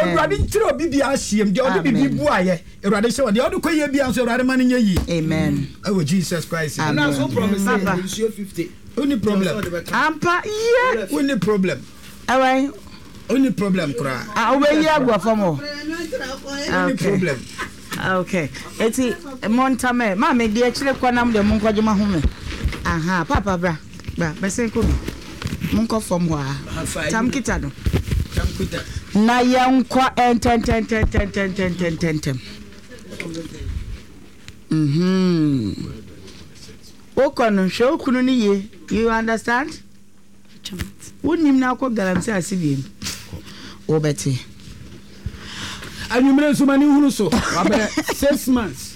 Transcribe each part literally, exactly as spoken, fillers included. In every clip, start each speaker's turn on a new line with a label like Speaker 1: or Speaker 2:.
Speaker 1: Awurade nkyerɛ obi bi ahyiam deɛ ɔde bibi
Speaker 2: Amen.
Speaker 1: bu ayɛ. Awurade hyɛ wɔ deɛ ɔde kɔ yie bia nso, Awurade ma no nyɛ yie.
Speaker 2: Amen.
Speaker 1: Ɛwɔ Jesus Christ.
Speaker 2: Amen.
Speaker 3: Ɛna so promise sɛ
Speaker 2: Papa.
Speaker 3: nsuo fifty.
Speaker 1: Wonni problem.
Speaker 2: Ampa yie.
Speaker 1: Wonni problem.
Speaker 2: Ɛwɛn.
Speaker 1: Wonni problem koraa.
Speaker 2: A wobɛyi agu fam hɔ.
Speaker 1: Wonni
Speaker 2: Okay.
Speaker 1: problem.
Speaker 2: Okay, eti mo ntamɛ maame deɛ akyire kɔ nam deɛ mo nkɔgye ma home. Aha, papa, bra bra, bɛsɛn kɔ bi, mo nkɔ fam hɔ a tam kita no.
Speaker 1: Tam kuta.
Speaker 2: Na yɛnkɔ ntɛntɛntɛntɛntɛntɛntɛntɛm. mhm wokɔ no, hwɛ wo kunu no yie, you understand? Wonim na akɔ galamsey ase biem, wobɛte.
Speaker 1: Anwummerɛ nso ma ne hunu so wabrɛ six months.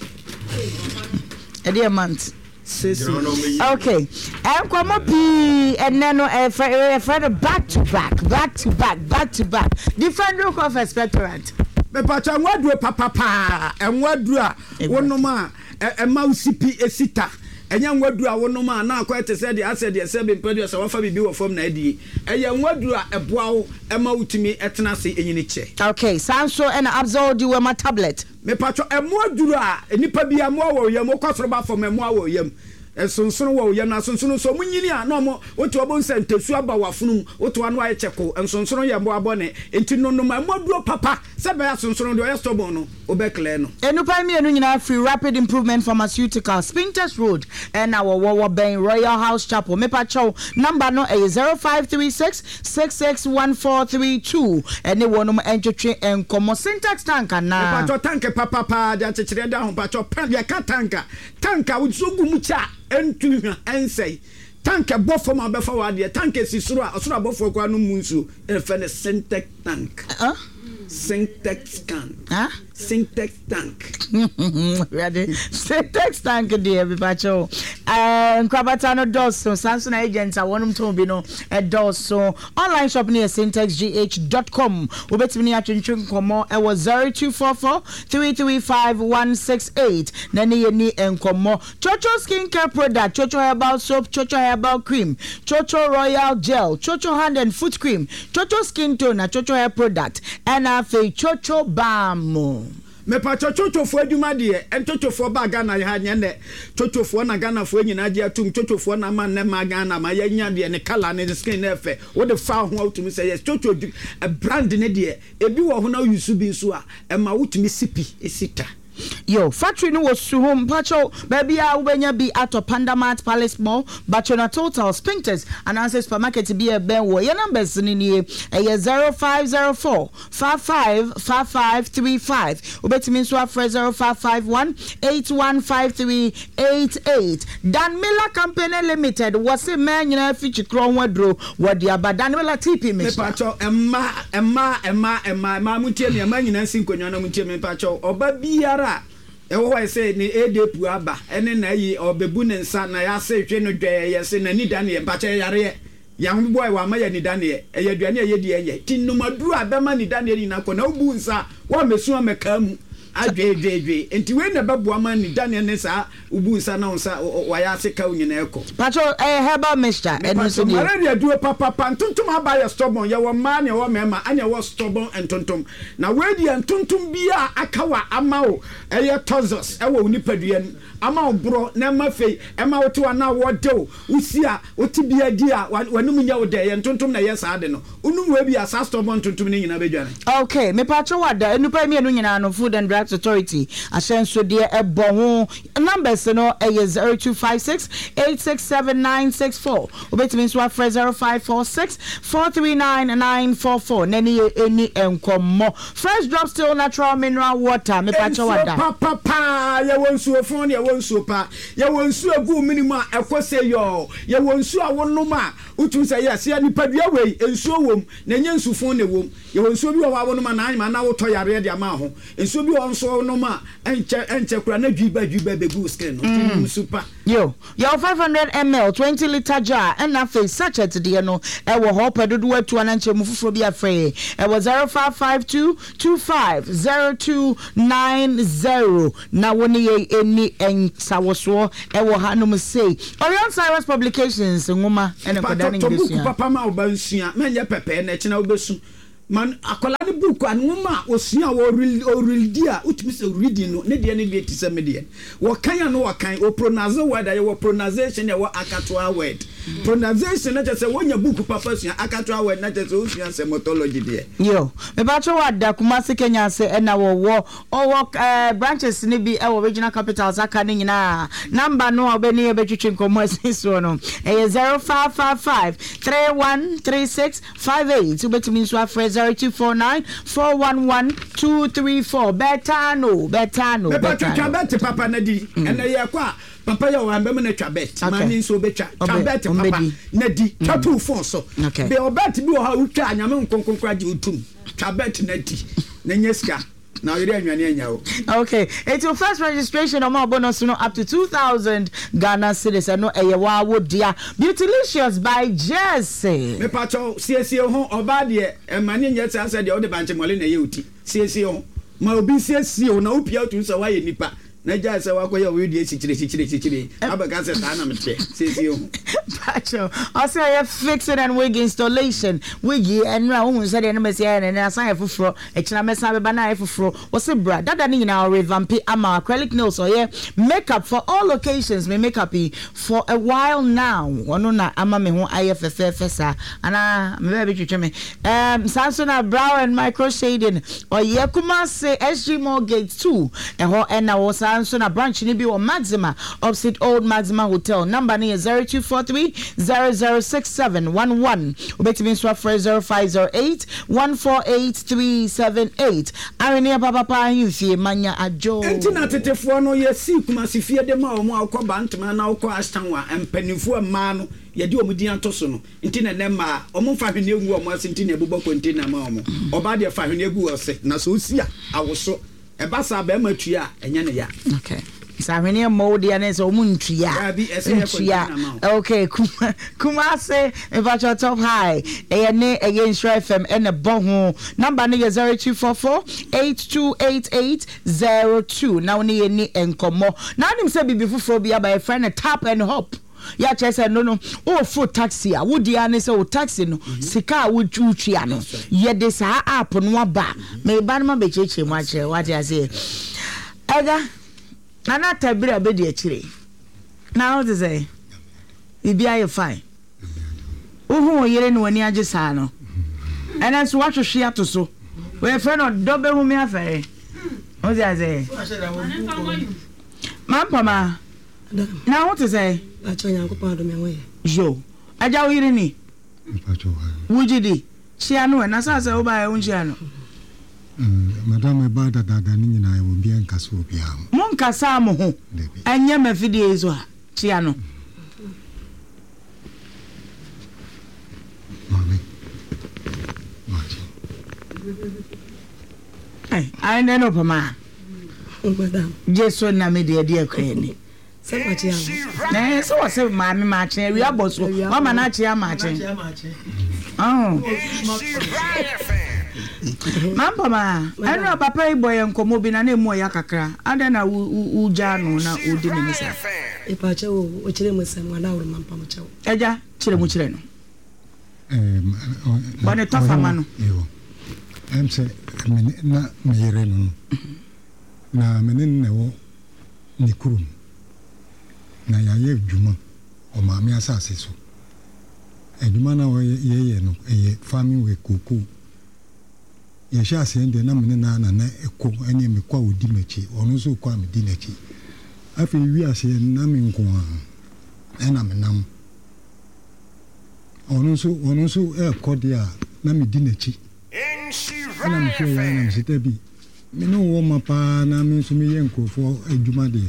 Speaker 2: Ɛdeɛ month?
Speaker 1: Six months.
Speaker 2: Okay, nkɔmɔ pii ɛnɛ no, ɛfɛ ɛfɛ no back to back, back to back, back to back. Defender Cough Expectorant.
Speaker 1: Mepatwa ɛnwa aduro papapaa, ɛnwa aduro a wonom a ɛ- ɛma wo sipi esi ta. Ɛnyɛ nwa aduro a wonom a na akɔyɛ te sɛ deɛ asɛ deɛ sɛ bempɛ deɛ sɛ wafa biribi wɔ fam na adie. Ɛyɛ nwa aduro a ɛboa wo ɛma wotumi ɛtena ase ɛnyini kyɛ.
Speaker 2: Okay, saa nso ɛna Abzol Diwema tablet.
Speaker 1: Mepatwa ɛmoa aduro a nipa bi ɛmoa wɔ yam, wokɔ soro ba fam, ɛmoa wɔ yam, nsonsono wɔ yam, na nsonsono nso ɔmo nyini a na ɔmo wote ɔmo nsɛ ntesu aba wɔ afono mu, wote ano ayɛ kyɛko. Nsonsono yɛ mmoa bɔne, nti nonom ɛmoa duro papa sɛ bɛyɛ asonsono deɛ ɔyɛ stubborn no, wobɛklɛ no.
Speaker 2: Enupa mmienu nyinaa firi Rapid Improvement Pharmaceutical, Spintex Road ɛna wɔwɔ wɔ bɛn Royal House Chapel. Mepakyɛw, number no ɛyɛ zero five three six six six one four three two, ɛne wɔnom ntwetwe nkɔmmɔ. Syntax tank anaa?
Speaker 1: Mepatwɔ tank papapaa de akyekyerɛ da ho. Patwɔ pa yɛka tank a, tank a wosuo gu mu kyɛ a ɛntu hwa ɛnsɛe, tank ɛbɔ fam a wobɛfa wɔ adeɛ, tank esi soro a ɔsoro abɔfoɔ koraa no mu nsuo, ɛfɛ no Syntex tank.
Speaker 2: Huh?
Speaker 1: Syntex tank.
Speaker 2: Huh?
Speaker 1: Syntex tank.
Speaker 2: Awurade, Syntax tank deɛ, mepakyɛw, ɛɛ nkrabata no dɔɔso, saa nso na agent a wɔnom tɔn bi no ɛdɔɔso. Online shop no yɛ syntexgh dot com. Wobɛtumi ne atwentwe nkɔmmɔ ɛwɔ zero two four four three three five one six eight na ne yɛ ni nkɔmmɔ. Chocho skin care product, Chocho herbal soap, Chocho herbal cream, Chocho royal gel, Chocho hand and foot cream, Chocho skin tone na Chocho hair product, ɛna afei Chocho balm.
Speaker 1: Mepatwɔ twotwofoɔ adwuma deɛ, ntwotwofoɔ ba Ghana ha nyɛ nɛ. Twotwofoɔ na Ghanafoɔ nyinaa gye atum. Twotwofoɔ na ama nnɛ ma Ghana ma yɛnya deɛ ne colour ne skin ne ɛfɛ wode fa ho a wotumi sɛ yes, twotwo brand ne deɛ ebi wɔ ho na woyi bi nso a ɛma wotumi si pi esi ta.
Speaker 2: Yo, factory no wɔ Suhum. Mpakyɛw, baabi a wobɛnya bi atɔ: Pandamat, Palace Mall, Bachona Total, Spintex anaasɛ supermarket bi a ɛbɛn wɔ. Yɛ numbers no nie, ɛyɛ zero five zero four five five five five three five. Wobɛtumi nso afrɛ zero five five one eight one five three eight eight. Dan Miller Company Limited wɔ se mmaa nyinaa fi kyikorɔ ho aduro wɔde aba, Dan Miller T P mixture.
Speaker 1: Mepakyɛw, mmaa, mmaa, mmaa, mmaa, mmaa, mo ntie mi. Mmaa nyinaa nsi nkonnwa na mo ntie mi. Mepakyɛw, ɔba biara a ɛwɔ hɔ sɛ ne edepu aba ɛne na ayi ɔbɛbu ne nsa na yɛase hwɛ no dwɛɛ, yɛse n'ani da neɛ. Mpakyɛ, yareɛ yɛn bɔ wɔ ama yɛ nidaneɛ, ɛyɛ aduane a yɛdi ɛnyɛ ti nnomaduro a bɛma nidaneɛ nyinaa kɔ na wobu nsa wɔamɛsu amɛkaa mu adweedweedwee. Nti wei na ɛbɛboa ma nidaneɛ ne saa wobu nsa na wo nsa wayɛ ase ka wo nyinaa kɔ.
Speaker 2: Pacho, ɛyɛ herbal mixture, ɛno nso nie.
Speaker 1: Malaria duro papapa. Ntontom aba yɛ stubborn. Yɛwɔ mmaa ne ɛwɔ mmarima, ɛne ɛwɔ stubborn ntontom. Na wei deɛ, ntontom biara aka wa ama wo ɛyɛ toxins ɛwɔ wo nipadua no ama wo borɔ na ɛma fei ɛma wo te wa na wɔde wo wosi a wote bia di a w'anum nyɛ wo dɛ. Yɛ ntontom na ɛyɛ saa de no, wonum wei bi a, saa stubborn ntontom no nyinaa bɛdwane.
Speaker 2: Okay, mepatro wada nnipa mmienu nyinaa no, Food and Drugs Authority ahyɛnsodeɛ ɛbɔ ho. Numbers no ɛyɛ zero two five six eight six seven nine six four. Wobɛtumi nso afrɛ zero five four six four three nine nine four four na ne yɛ ɛni nkɔmmɔ. Fresh Drop Still natural mineral water, mepatro
Speaker 1: Nsuo
Speaker 2: wada.
Speaker 1: Papapaa, yɛwɔ nsuo fon, yɛwɔ nsuo pa, yɛwɔ nsuo egu mini mu a ɛkɔ sɛ yɔɔ, yɛwɔ nsuo a wonom a wotum sɛ yɛs yɛ nipadua wei nsuo wom na ɛnyɛ nsu fon na ɛwom. Yɛwɔ nsuo bi wɔ hɔ a wonom a na anyima na wotɔ yareɛ de ama ho. Nsuo bi wɔ hɔ nso wonom a ɛnkyɛ ɛnkyɛ kora na dwi ba dwi ba bɛgu wo skin no, nti nom nsu pa.
Speaker 2: Yo, yɛwɔ five hundred milliliters twenty litre jar, ɛna afei sachet deɛ no ɛwɔ hɔ. Pɛ dodoɔ atu anankyɛ mu foforɔ bi afrɛ ɛwɔ zero five five two two five zero two nine zero na wo ne yɛ ɛni nsawɔsoɔ ɛwɔ hanom sei. Orion Cyrus Publications nwoma ɛne nkɔda ne
Speaker 1: patɔtɔ buku
Speaker 2: nyinasua.
Speaker 1: Papa ma wo ba nsua mɛnyɛ pɛpɛɛ na ɛkyena wobɛsu. Man akwadaa ne book a nwoma a osua a ɔredi a wotumi sɛ reading no ne deɛ ne deɛ ti sɛ me deɛ wɔkan a no wɔkan o pronounce word a yɛwɔ pronunciation, yɛwɔ akatoa word. Pronunciation na kyerɛ sɛ wonya book papa sua. Akatoa word na kyerɛ sɛ wosua sɛmotology deɛ.
Speaker 2: Yo, mepakyɛ wɔ ada Kumase Kenya ase ɛna wɔwɔ ɔwɔ ɛɛ branches ne bi ɛwɔ regional capitals aka ne nyinaa. Number no a wobɛne yɛbɛtwitwi nkɔmmɔ asi soɔ no ɛyɛ zero five five five three one three six five eight. Wobɛtumi nso afrɛ zero two four nine four one one two three four. Bɛtano, bɛtano.
Speaker 1: Mepatwa twa bet papa na di. Ɛnɛ yɛ kɔ a papa yɛ ɔwɔ mbɛmu na twa bet. Maame nso bɛtwa twa bet papa na di, twa to phone so bɛ ɔbet bi wɔ hɔ a wotwa a Nyame nkonkonkora gye wotum. Twa bet na di na nyɛ sika na ɔyere anwane anya o.
Speaker 2: Okay, it's your first registration ɔmo bonus no up to two thousand Ghana cedis. Ɛno ɛyɛ waa dea. Beautylicious by Jesse.
Speaker 1: Mepatwa siesie ho. Ɔbaa deɛ, ɛma ne nyɛ saa sɛ deɛ wode bankyemɔle na ɛyɛ wo ti. Siesie ho ma obi siesie wo na wopia wotum sɛ woayɛ nipa na gyae sɛ woakɔyɛ wo deɛ sikyire sikyire sikyire abɛka sɛ saa na meteɛ. Siesie ho.
Speaker 2: Pacho, ɔsɛ ɛyɛ fixing and wig installation. Wig yi ɛnura ohun sɛ deɛ ne mɛsi ayɛ ne ne asan yɛ foforɔ, ɛkyina mɛsan bɛba na ayɛ foforɔ. Wɔsi bra dada ne nyinaa ɔrevamp ama. Acrylic nails, ɔyɛ makeup for all occasions. Me makeup yi for a while now, ɔno na ama me ho ayɛ fɛfɛɛfɛ saa anaa me bɛɛ bi twitwi me ɛɛm. Saa nso na brow and micro shading ɔyɛ. Kumase S G Mall Gate two ɛhɔ ɛna wɔ. Saa nso na branch ni bi wɔ Maxima, opposite Old Maxima Hotel. Number no yɛ zero two four three zero zero six seven one one. Wobɛtumi nso afrɛ zero five zero eight one four eight three seven eight. Aweneɛ papapa ahemfie manya adwo.
Speaker 1: Nti na tetefoɔ no yɛsii Kumase fie de ma ɔmo a wokɔ Bantama na wokɔ Ashtown a mpanimfoɔ mmaa no yɛde ɔmo din ato so no. Nti na nɛ mmaa ɔmo mfa hwene ngu ɔmo ase, nti na ɛbobɔ container ma ɔmo. Ɔbaa deɛ, fa hwene gu ɔse na sɛ osi a awoso ɛba saa bɛrima tua a ɛnyɛ ne ya.
Speaker 2: Okay, sɛ ahweneɛ mmɔ wo deɛ ne sɛ ɔmo ntua.
Speaker 1: Daabi, ɛsɛ yɛ
Speaker 2: ntua
Speaker 1: container ma wo.
Speaker 2: Okay, Kuma Kumase mepakyɛ Top High ɛyɛ ne ɛyɛ Nhyira F M ɛna bɔ ho. Number no yɛ zero two four four eight two eight eight zero two na wo ne yɛ ni nkɔmmɔ. Na anim sɛ biribi foforɔ bi aba, yɛfrɛ no tap and hop. Yɛakyerɛ sɛ no no woforo taxi a wodi ara ne sɛ wo taxi no sika a wotua no, yɛde saa app no aba. Meba no ma bɛkyerɛkyerɛ mu akyerɛ wate aseɛ. Ɛda Nana Tabiri a bɛdi akyire na wote sɛ biribi ayɛ fine. Wohu wo yere ne w'ani agye saa no, ɛnɛ nso woahwehwe ato so, wɔyɛfrɛ no ɔdɔ bɛhu me afɛre. Wote aseɛ, mampama na wote sɛ
Speaker 3: Akyɛ, Nyankopɔn adom, ɛho yɛ.
Speaker 2: Yo, agya, wo yere ni, wogye di hyia no ɛ na saa sɛ wobaɛ wonhyia no.
Speaker 4: Madam, ɛba dadaada no nyinaa ɛwɔ obiara nkasa obiara ho.
Speaker 2: Monkasaa mo ho?
Speaker 4: Dabi.
Speaker 2: Ɛnyɛ mafidie yi so a kyia no.
Speaker 4: Maame, makye.
Speaker 2: Ayɛ nɛ no pama.
Speaker 3: Madam.
Speaker 2: Gye so na me deɛ deɛ kora ni.
Speaker 3: Sɛ makye ano.
Speaker 2: Na ɛyɛ sɛ wɔ sɛ maame maakye awia bɔ so wama no akye amaakye. Ɔho mampama ɛno papa yi bɔ yɛ nkɔmmɔ bi na na emu ɔya kakra. Adɛn na wogyaa no na wodi n'ani saa?
Speaker 3: Mepakyɛ wo, wokyerɛ mu sɛm wadaworo ma mpam kyɛw.
Speaker 2: Agya, kyerɛ mu kyerɛ no. Bɔne tɔfa ma no.
Speaker 4: Ɛm sɛ mene na meyere no no na mene no na ɛwɔ ne kurom na yɛayɛ adwuma ɔmaame asase so. Adwuma no a yɛyɛ no ɛyɛ farming work, kookoo. Yɛhyɛ aseɛ deɛ na mene naa na na ɛkɔ ɛne mekɔ a ɔdi m'akyi, ɔno nso kɔ a medi n'akyi. Afei wi aseɛ na me nko a ɛna menam, ɔno nso ɔno nso ɛrekɔ deɛ a na medi n'akyi. Ɛna mehwɛ yɛ na mesɛ dabi, me ne wɔ ma paa na me nso meyɛ nkurɔfoɔ adwuma deɛ,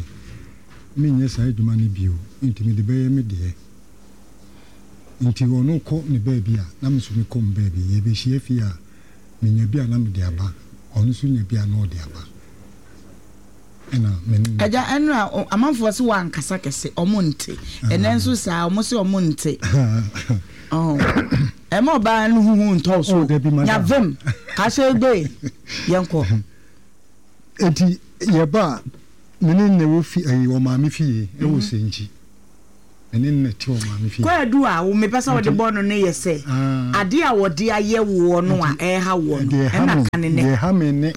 Speaker 4: menyɛ saa adwuma no bio, nti mede bɛyɛ me deɛ. Nti ɔno kɔ ne baabi a na me nso mekɔ me baabi. Yɛbɛhyia fie a, menya bi a na mede aba, ɔno nso nya bi a na ɔde aba, ɛna me ne no.
Speaker 2: Agya, ɛno a amanfoɔ sɛ wɔankasa kɛse, ɔmo nte. Ɛnɛ nso saa ɔmo sɛ ɔmo nte. Ɛma ɔbaa no huhu ntɔw so.
Speaker 4: Oh, dabi, madam.
Speaker 2: Nyavem kahyɛ egbe yɛnkɔ.
Speaker 4: Enti yɛba a me ne ne wɔ fi ɛyi ɔmaame fie ɛwɔ Sɛnkyi. Me ne no na ɛte wɔ maame fie.
Speaker 2: Kwaadu a wo mepɛ sɛ wode bɔ no no yɛ sɛ adeɛ a wɔde ayɛ woɔ no a ɛreha woɔ no, ɛna ka ne nnɛ.
Speaker 4: Deɛ ɛha me ne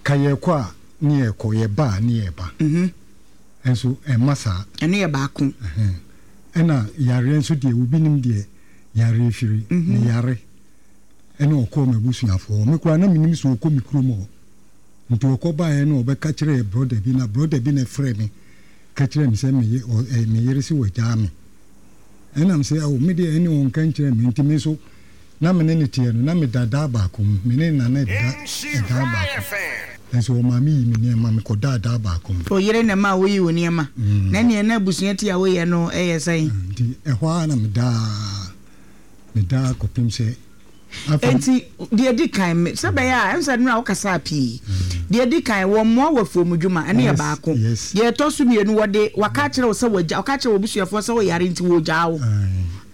Speaker 4: ka yɛkɔ a ne yɛkɔ, yɛba a ne yɛba. Nso ɛmma saa.
Speaker 2: Ɛno yɛ baako.
Speaker 4: Ɛna yareɛ nso deɛ obi nim deɛ yareɛ firi. Meyare ɛna ɔkɔɔ m'abusuafoɔ hɔ. Me koraa na menim sɛ ɔkɔ me kurom hɔ. Nti ɔkɔ baeɛ na ɔbɛka kyerɛɛ brɔda bi na brɔda bi na ɛfrɛɛ me ka kyerɛɛ me sɛ me ye ɔ ɛ me yere se wagyaa me. Ɛna me se ao me deɛ ɛne ɔnka nkyerɛɛ me nti me nso na me ne no teɛ no na meda daa baako mu me ne Nana da ɛdaa baako nso ɔmaa me yii me nneɛma me kɔdaa daa baako mu.
Speaker 2: Wo yere na ɛmaa woyii wo nneɛma? Na ɛneɛ na abusua ti a woyɛ no yɛ sɛn?
Speaker 4: Nti ɛhɔ ara na medaa medaa kɔpem sɛ afei.
Speaker 2: Enti deɛ ɛdi kan, me, sɛ ɛbɛyɛ a, ɛm sɛ nnora wokasaa pii. Deɛ ɛdi kan, wɔmmoa wo afuom dwuma, ɛno yɛ baako. Deɛ ɛtɔ so mmienu, wɔde, wɔaka akyerɛ wo sɛ wɔagya, wɔka akyerɛ w'abusuafoɔ sɛ woyare nti wɔregyaa wo.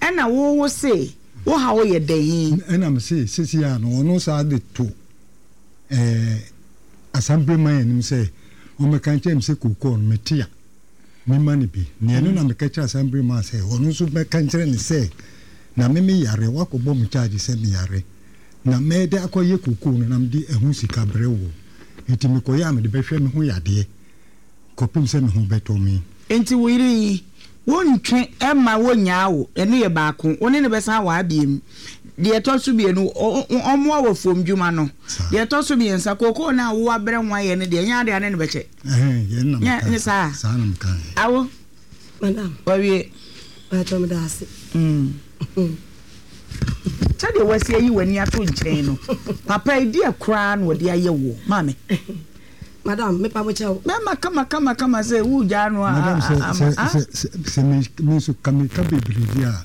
Speaker 2: Ɛna wo, wo se, wo haw yɛ dɛn?
Speaker 4: Ɛna me se, seesei ara no, ɔno saa de to ɛɛ Asampereman anim sɛ ɔmmɛka nkyerɛ me sɛ kookoo no mete a, memma no bi. Na ɛno na meka kyerɛɛ Asampereman sɛ ɔno nso mmɛka nkyerɛ no sɛ na me meyare, woakɔbɔ me charge sɛ meyare, na mɛde akɔyɛ kookoo no na mede ɛho sika brɛ wo. Enti mekɔyɛ a mede bɛhwɛ me ho yadeɛ kɔpem sɛ me ho bɛtɔ me.
Speaker 2: Enti wo yere yi, wontwe mma wonnyaa wo, ɛno yɛ baako, wo ne no bɛsan awaa biom. Deɛ ɛtɔ so mmienu, ɔmmoa wo afuom dwuma no. Deɛ ɛtɔ so mmiɛnsa, kookoo no a wo abrɛ ho ayɛ no deɛ, ɛnyɛ adeɛ a ne no bɛkyɛ. Nyɛ ne saa? Awo,
Speaker 3: Madam.
Speaker 2: Wawie.
Speaker 3: Paatwa meda ase.
Speaker 2: Mm. Sɛdeɛ wasi ayi w'ani ato nkyɛn no, papa yi deɛ koraa na ɔde ayɛ woɔ, maame.
Speaker 3: Madam, mepa mo kyɛw.
Speaker 2: Bɛma kama kama kama sɛ wogyaa no a.
Speaker 4: Madam, sɛ sɛ sɛ sɛ sɛ me me nso ka me ka bebree di a,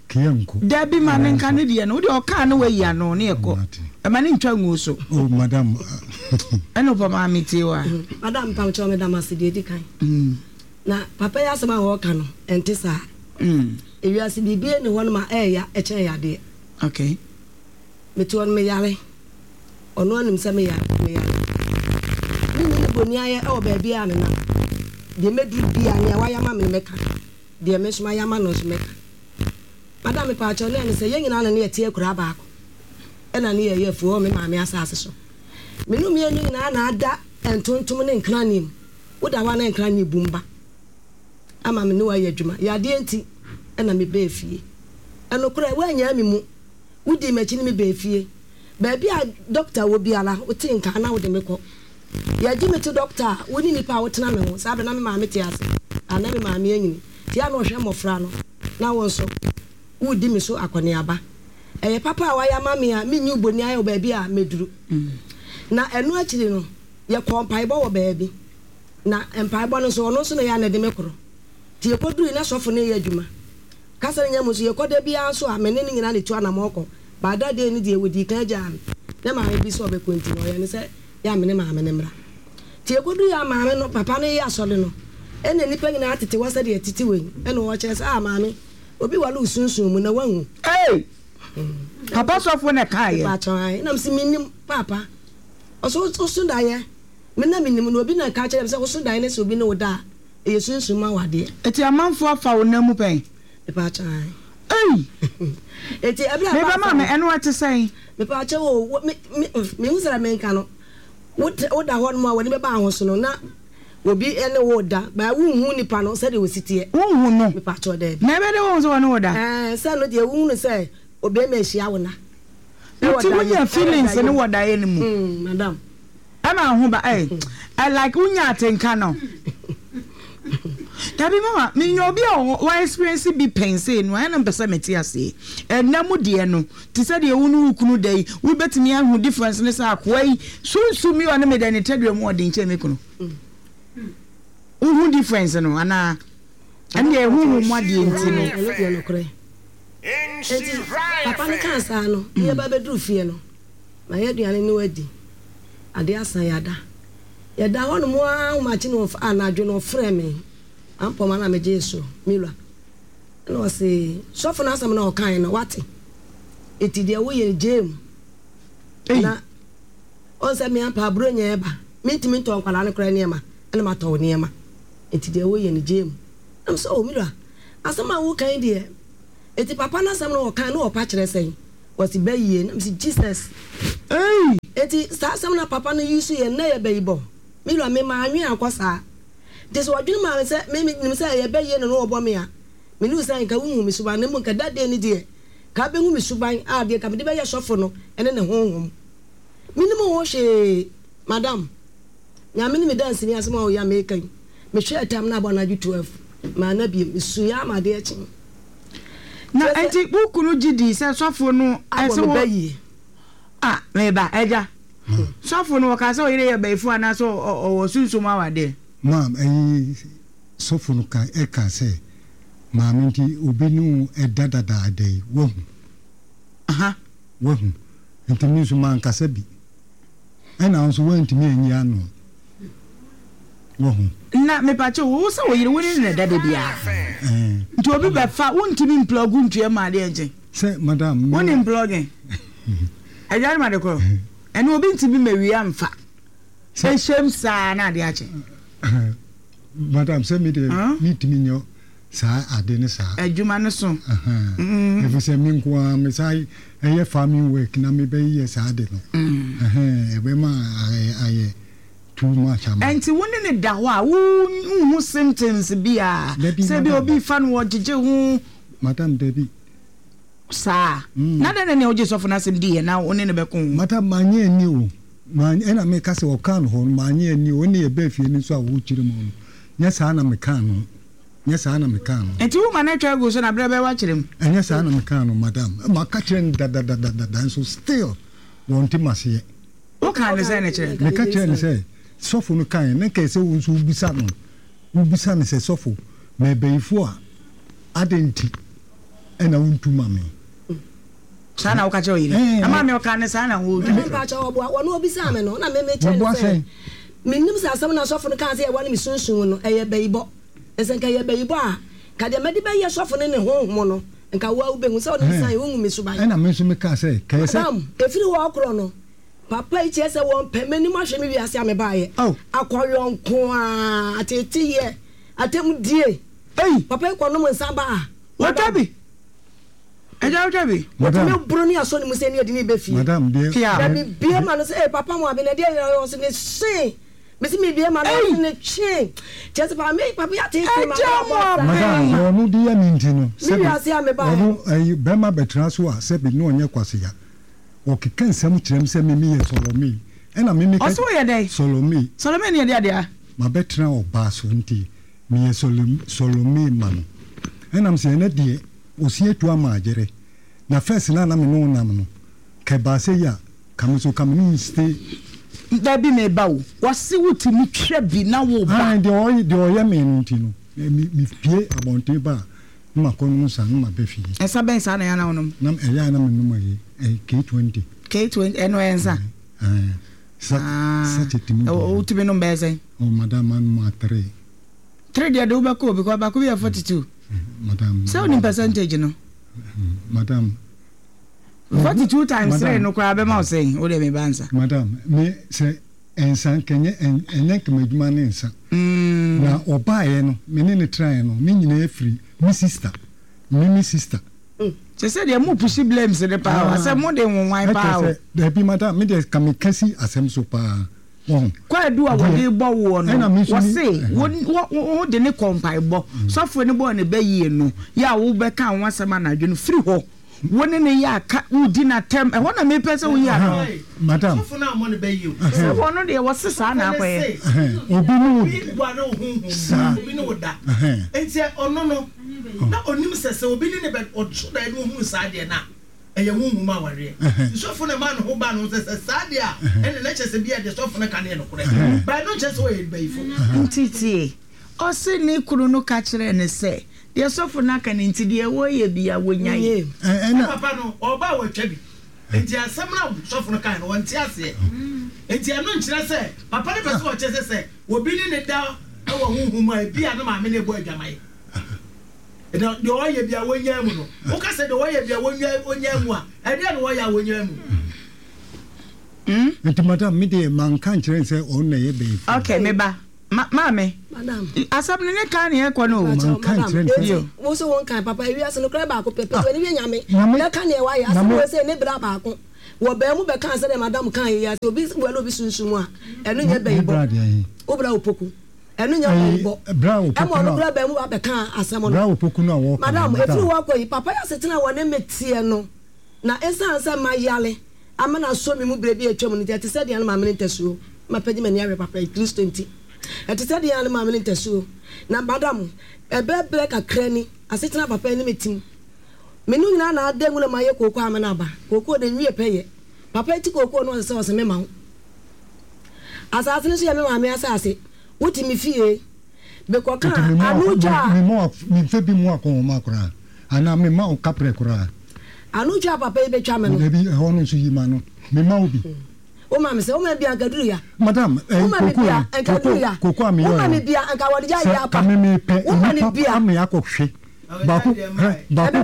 Speaker 4: kea nko.
Speaker 2: Dabi ma ne nka ne deɛ no, wodeɛ ɔkaa ne wayi ano ne ɛkɔ. Ɛma ne ntwa nguo so.
Speaker 4: Oh madam.
Speaker 2: Ɛna ɔpa maame tie wa.
Speaker 3: Madam, mepa mo kyɛw, meda mo ase deɛ edi kan. Na papa yi asɛm a ɔreka no, ɛnte saa. Ewiase biribi nni hɔ nom a ɛɛya ɛkyɛn yadeɛ.
Speaker 2: Okay.
Speaker 3: Mete hɔ no meyare. Ɔno ara nim sɛ meyare, meyare. Menni ne boniayɛ wɔ baabi a menam. Deɛ mɛduru biara, nea wayɛ ama me no mɛka. Deɛ me nso mayɛ ama no nso mɛka. Madam mepaakyɛw, na ɛne sɛ yɛn nyinaa na ne yɛte akuraa baako. Ɛna ne yɛyɛ afuo wɔ me maame asaase so. Me ne mmienu nyinaa na ada ntontom ne nkrane mu. Woda hɔ a na nkrane bum ba ama me ne wo ayɛ adwuma. Yadeɛ nti na mebaa fie. Ɛnokorɛ, woannyaa me mu. Wodii m'akyi ne me baa fie. Baabi a dɔkta wɔ biara, wotee nka na wode me kɔ. Yɛgye me to dɔkta a, wo ne nnipa a wotena me ho. Saa berɛ na me maame te ase, a na me maame anyini. Nti a na ɔhwɛ mmɔfra no, na wo nso woredi me so akɔneaba. Ɛyɛ papa a woayɛ ama me a menyi wo boniayɛ wɔ baabi a mɛduru. Na ɛno akyiri no, yɛkɔɔ mpaebɔ wɔ baabi. Na mpaebɔ no nso, ɔno nso na ɛyɛ a na ɛde me korɔ. Nti yɛkɔduruui na sɔfo no reyɛ adwuma. Kasa no nya mu nso, yɛkɔ da biara nso a, me ne no nyinaa na ɛtu anamɔn kɔ. But that day no deɛ, wɔdii kan gyaa me. Na maame bi sɛ ɔbɛkɔ nti no, ɔyɛɛ no sɛ yɛ a me ne maame no mmra. Nti yɛkɔduruui a maame no, papa no reyɛ asɔre no, ɛna nnipa nyinaa tete hɔ sɛdeɛ ɛtete wei. Ɛna ɔrekyerɛ sɛ, ah maame, obi ware wo sunsum mu na woahu.
Speaker 2: Ei! Papa sɔfo na ɛkaeɛ?
Speaker 3: Mepakyɛw, ae. Ɛna mese, mennim, paapa. Ɔse, woso daeɛ? Me na mennim no, obi na ɛka kyerɛɛ me sɛ woso daeɛ na sɛ obi ne wo da a, ɛyɛ sunsum mu awadeɛ.
Speaker 2: Eti amanfoɔ afa wo nan mu pɛn?
Speaker 3: Mepaakyɛw, ae.
Speaker 2: Ei!
Speaker 3: Eti ɛberɛ a
Speaker 2: Meba
Speaker 3: ɛbaa saa
Speaker 2: maame,
Speaker 3: no.
Speaker 2: ɛno ɛte sɛn?
Speaker 3: Mepaakyɛw o, wo, me, me, menhu sɛdeɛ menka no. Wo, woda hɔ nom a w'ani bɛba ahoso no, na obi ne wo reda, but wonhu nipa no sɛdeɛ ɔsi teɛ.
Speaker 2: Wonhu no?
Speaker 3: Mepaakyɛw, daabi.
Speaker 2: Na ɛbɛyɛ dɛ woahu sɛ ɔne wo da?
Speaker 3: Ɛɛ, sɛ ɛno deɛ wohunu sɛ obarima ahyia wo na.
Speaker 2: Nti wonya feelings no wɔ daeɛ no mu?
Speaker 3: Mm, madam.
Speaker 2: Ɛma wo ho ba eh, eh, like wonya atenka no. Dabi mama, menya obi a wa experience bi pɛn sei no, ɛna mpɛ sɛ mete aseɛ. Ɛnna mu deɛ no, te sɛ deɛ wo ne wo kunu da yi, wobɛtumi ahu difference ne sɛ akoa yi, sunsum yi ɔne me da ne tadua mu ɔden kyɛn me kunu. Wohu difference no anaa? Ɛne deɛ ɛhuhu mu adeɛ nti no.
Speaker 3: Ɛno deɛ nokorɛ. Enti papa no kaa saa no, ne yɛba bɛduru fie no, mayɛ aduane ne wadi. Adeɛ asa yɛada. Yɛda hɔ nom ara ahomakye no anadwo no ɔfrɛɛ me. Ampɔma na megyee so, me wura. Ɛna ɔse, sɔfo no asɛm no a ɔkaeɛ no, wate? Enti deɛ woyɛ no gyaa mu. Na ɔn sɛ me ampa aburonya ɛba, mentumi ntɔ nkwadaa no koraa nneɛma, ɛna matɔ wo nneɛma. Enti deɛ woyɛ no gyaa mu. Na mesɛ, oh me wura, Asɛm a woka yi deɛ, enti papa no asɛm no ɔka no ɔpa kyerɛ sɛn? Wɔsi bɛyie. Na mesi Jesus.
Speaker 2: Ei!
Speaker 3: Enti saa asɛm na papa no yi so yɛ nnɛ yɛ bɛyibɔ. Me wura me maa nwe ankɔ saa. Nti sɛ ɔdwene maa me sɛ me nim sɛ ɛyɛ bɛyie na no ɔbɔ me a, me ne wo sɛ nka wohu me suban na mmom nka that day no deɛ ka bɛhu me suban a deɛ nka mede bɛyɛ sɔfo no ɛne ne honhom. Menim ho hwee, madam. Nyame ne me danseni asɛm a ɔyɛ a meka yi. Mehwɛɛ tam no abɔ anadwo twelve, manna bio. Mesuiɛ ama adeɛ kye.
Speaker 2: Na enti wo kunu gye dii sɛ sɔfo no
Speaker 3: Abɔ
Speaker 2: ɛsɛ
Speaker 3: me
Speaker 2: wɔ
Speaker 3: bayie.
Speaker 2: a meba agya sɔfo no wɔkaa sɛ ɔyere yɛ bayifo anaasɛ ɔwɔ sunsum awadeɛ.
Speaker 4: Maam ɛyi sɔfo no ka ɛka sɛ maame nti obi ne wo ɛda dadaada yi wahu.
Speaker 2: Aha.
Speaker 4: Wahu nti me nso mankasa bi ɛna wo nso woantumi anyi ano wahu.
Speaker 2: Na mepakyɛ wo sɛ wo yere wo ne no na ɛda da biara
Speaker 4: Ɛɛ.
Speaker 2: nti obi bɛfa wontumi mplɔgu ntua mu adeɛ nkye.
Speaker 4: Sɛ madam me.
Speaker 2: Wonim plɔgin agya no ma de korɔ ɛne obi ntumi mawia mfa ɛhyɛm saa na adeɛ akye.
Speaker 4: Madam sɛ me deɛ mentumi nyɛ saa ade ne saa.
Speaker 2: Adwuma no so.
Speaker 4: Ɛfiri sɛ me nko ara me saa ɛyɛ farming work na mebɛyɛ saa ade no. Ɛbɛma ayɛ too much ama.
Speaker 2: Ɛnti wo ne ne da hɔ a wonhu symptoms bi a sɛ bi obi fa no wɔgyegye ho.
Speaker 4: Madam dabi.
Speaker 2: Saa. Na dɛn na nea wogye sɔfo no asɛm diiɛ na wo ne no bɛko ho?
Speaker 4: Madam manyɛ anni o. Ɛna meka sɛ ɔkaa no hɔ no manyɛ anni o. Ɛne yɛbaa fie no nso a wokyerɛ mu no nyɛ saa na mekaa no. Nyɛ saa na mekaa no.
Speaker 2: Nti woma no atwa agu so na berɛ bɛyɛ woakyerɛ mu?
Speaker 4: Ɛnyɛ saa na mekaa no madam. Maka kyerɛ no dadadadada nso still wɔnte maseɛ.
Speaker 2: Wokaa no sɛn na kyerɛ no?
Speaker 4: Meka kyerɛ no sɛ sɔfo no kaeɛ na nka ɛsɛ wo nso wobisa no. Wobisa no sɛ sɔfo mɛbɛyifo a adɛn nti ɛna wontu ma me?
Speaker 2: Saa na woka kyerɛ ɔyere? Ɛma me ɔka ne saa na wotwa.
Speaker 3: Mepa kyɛw ɔboa wɔn obisaa me no na me me kyerɛ no sɛ menim sɛ asɛm na sɔfo no kaa sɛ yɛwɔ ne me sunsun no ɛyɛ bɛyibɔ. Sɛ nka yɛ bɛyibɔ a ka deɛ mɛde bɛyɛ sɔfo ne ne honhom no nka wo a wobɛhu sɛ ɔne san wohu me suban.
Speaker 4: Ɛna me nso mekaa sɛ kɛyɛ sɛ
Speaker 3: madam ɛfiri hɔ korɔ no papa yi kyerɛ sɛ wɔmpɛ m'anim ahwɛ me wiase a mebaeɛ akɔyɔnko a ateteyɛ atemdie.
Speaker 2: Ei!
Speaker 3: Papa yi kɔnom nsa ba a
Speaker 2: wɔtwa bi ɛgya wotwa bi.
Speaker 3: Wɔtumi boro ne asɔ ne mu sɛ ne yɛde ne bɛ fie.
Speaker 4: Madam deɛ
Speaker 2: Pia.
Speaker 3: Na mebie ma no sɛ ee papa mu abi na deɛ yɛ ɔsɛ ne se mesi mebie ma no ɔsɛ ne twe kyerɛ sɛ papa me papa yɛ atete ma
Speaker 2: Ɛgya mu abɛn.
Speaker 4: Madam deɛ ɔno de yɛ me nti no
Speaker 3: Me
Speaker 4: sɛbi
Speaker 3: wiase a mebaeɛ.
Speaker 4: ɔno ɛyi bɛrima bɛtena so a sɛbi ne ɔnyɛ kwasea ɔkeka nsɛm kyerɛ m sɛ me meyɛ Sɔlɔme ɛna me meka
Speaker 2: Ɔsɛ woyɛ dɛn?
Speaker 4: Sɔlɔme.
Speaker 2: Sɔlɔme ne yɛde adeɛ.
Speaker 4: Mabɛtena ɔbaa so nti meyɛ Sɔlɔme ma no ɛnam sɛ ɛnɛ deɛ ɔsi atu ama agyere na first na na me ne wo nam no kɛbaa sɛ yi a ka me so ka me ne wo stay.
Speaker 2: Dabi meba o wɔse wotumi twa bi na wo ba.
Speaker 4: Ayi deɛ ɔyɛ deɛ ɔyɛ me no nti no me me pie abɔnten ba a na ma kɔ nom nsa na ma bɛ fie.
Speaker 2: Nsa bɛn saa na ɛyɛ na wonom?
Speaker 4: Na ɛyɛ a na me nom ɛyi ɛyi K twenty.
Speaker 2: K twenty ɛno ɛyɛ nsa?
Speaker 4: Ɛɛ sa sachet mu.
Speaker 2: Ɛwɔ wotumi nom bɛyɛ sɛn?
Speaker 4: Oh madam ma nom a three.
Speaker 2: Three deɛ de wobɛkɔ o because baako bi yɛ forty two.
Speaker 4: Madam.
Speaker 2: Sɛ wonim percentage no?
Speaker 4: Madam.
Speaker 2: Forty two times three no koraa bɛma wo sɛn? Wo deɛ meba nsa.
Speaker 4: Madam me sɛ nsa nkɛnyɛ ɛnyɛ nkɛmɛ adwuma ne nsa. Na ɔbaeɛ no me ne ne tenaeɛ no ne nyinaa firi me sister me me sister.
Speaker 2: Kyɛ sɛ deɛ mo pushi blames ne paa o asɛ mo de nwonwan paa o.
Speaker 4: Ɛkyɛ sɛ dabi madam me deɛ ka me kasi asɛm so paa wɔn.
Speaker 2: Kwaadu a wɔde bɔ woɔ no wɔse wo wo de ne kɔ mpaebɔ sɔfoɔ no bɔɔ ne bɛ yie no yɛ a wobɛka ho asɛm anadwo no firi hɔ wo ne ne yɛ aka wodi n'atɛm ɛhɔ na mepɛ sɛ woyi ano.
Speaker 4: Madam.
Speaker 5: Sɔfo no ammɔ ne bɛ yie o.
Speaker 2: Sɛ wɔn deɛ wɔse saa na akɔyɛ.
Speaker 4: Obi ne wo
Speaker 5: obi wa ne wo honhom
Speaker 4: saa
Speaker 5: obi ne wo da nti ɔno no na onim sɛ sɛ obi ne ne bɛ ɔso da ne ohunu saa deɛ na ɛyɛ honhom awareɛ nti sɔfo no ma ne ho ba no sɛ sɛ saa deɛ a ɛne na kyerɛ sɛ bi a deɛ sɔfo no ka no yɛ nokorɛ ba ɛno nkyerɛ sɛ ɔyɛ bayifo.
Speaker 2: Nti tie, ɔse ne kunu no ka kyerɛɛ no sɛ deɛ sɔfo no aka no nti deɛ wɔyɛ bia wɔnyae.
Speaker 5: Ɛna papa no ɔba a watwa bi nti asɛm no a sɔfo no kae no wɔnte aseɛ nti ɛno nkyerɛ sɛ papa no pɛ sɛ ɔkyerɛ sɛ sɛ obi ne ne da wɔ honhom mu a ebi a ne maame no ɛbɔ adwaman deɛ ɔyɛ bi a wɔnyaa mu no woka sɛ deɛ ɔyɛ bi a wɔnyaa mu a ɛdeɛ na wɔyɛ a wɔnyaa mu.
Speaker 4: Nti madam me deɛ manka nkyerɛ sɛ ɔno na ɛyɛ bɛyifo.
Speaker 2: Okay me ba Maame, asɛm no ne kan ne ɛkɔ no o.
Speaker 3: Wo so wɔn kan papa ewiase no kora baako pɛ pɛ wani yɛ nyame bɛka neɛ wayɛ asɛm wɔ sɛ ne bra baako wɔ bɛn mu bɛka sɛ dɛ madam kan yɛ ase obi wɔ obi sunsun a ɛno nyɛ bɛyi bɔ wo bra opoku ɛno nyɛ bɛyi bɔ ɛma ɔno kora bɛn mu ba bɛka asɛm no madam efiri wɔ kɔ yi papa yɛ asetena wɔ ne meteɛ no na esan sɛ ma yale ama na so mi mu bere bi atwam no nti ɛte sɛ deɛ no maame ne ntasuo ma pɛgye m'ani ahwɛ papa yi Kristo nti ɛte sɛ deɛ no maame ne ntasuo na madam ɛbɛbrɛ kakra ni asetena papa yi ne me tim me no nyinaa na ada ngu na mayɛ kooko ama no aba kooko de nwie pɛ yɛ papa yi ti kooko no ɔsɛ sɛ ɔsɛ me ma wo asase no so yɛ me maame asase wote me fie mekɔka ano twa
Speaker 4: memfɛ bi mu akɔnhoma koraa anaa mema wo kaprɛ koraa
Speaker 3: ano twa papa yi bɛtwa me no
Speaker 4: dabi ɛhɔ no nso yi ma no mema wo bi
Speaker 3: wo ma me sɛ wo ma bia anka duru ya
Speaker 4: madam
Speaker 3: wo ma me bia anka duru ya
Speaker 4: koko a meyɛ
Speaker 3: wo ma me bia anka wɔde gya yɛ apa
Speaker 4: ka me mepɛ
Speaker 3: wo ma ne bia
Speaker 4: ame akɔhwe baako baako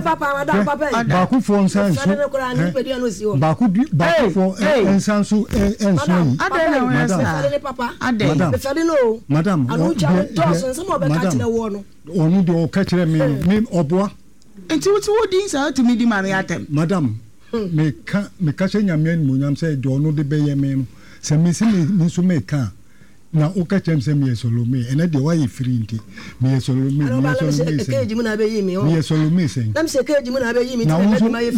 Speaker 4: baako foɔ nsa nso baako baako foɔ nsa nso nso yi
Speaker 2: madam
Speaker 4: madam madam
Speaker 3: madam
Speaker 4: ɔno deɛ ɔka kyerɛ me no me ɔboa
Speaker 2: nti wotu wo din saa tumi di maame atɛm
Speaker 4: madam meka meka hyɛ Nyame animuonyam sɛ deɛ ɔno de bɛyɛ me no sɛ mesi me nso meka na woka kyerɛ me sɛ meyɛ Solome ɛnɛ deɛ woayɛ firi nti meyɛ Solome meyɛ Solome sɛn meyɛ Solome sɛn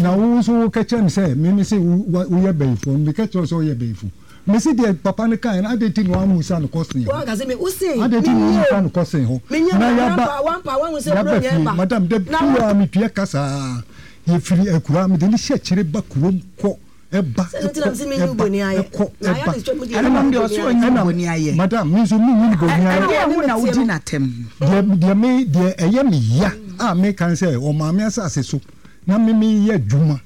Speaker 4: na wo nso woka kyerɛ me sɛ meme sɛ woyɛ bɛyifoɔ meka kyerɛ sɛ woyɛ bɛyifo mesi deɛ papa no kae no adɛn nti na woammusa no kɔsen hɔ adɛn nti na woammusa no kɔsen hɔ na yɛaba yɛaba fie madam da biaa metua ka saa yɛfiri akura mede ne hyɛ kyerɛ ba kurom kɔ ɛba ɛkɔ ɛkɔ ɛba ɛna madam mi nso mi nyi boni ayɛ
Speaker 2: ɛdeɛ ɛho na wodi n'atɛm
Speaker 4: deɛ deɛ mi deɛ ɛyɛ mi ya a mi kan sɛ ɔmaame asase so na mi mi yɛ adwuma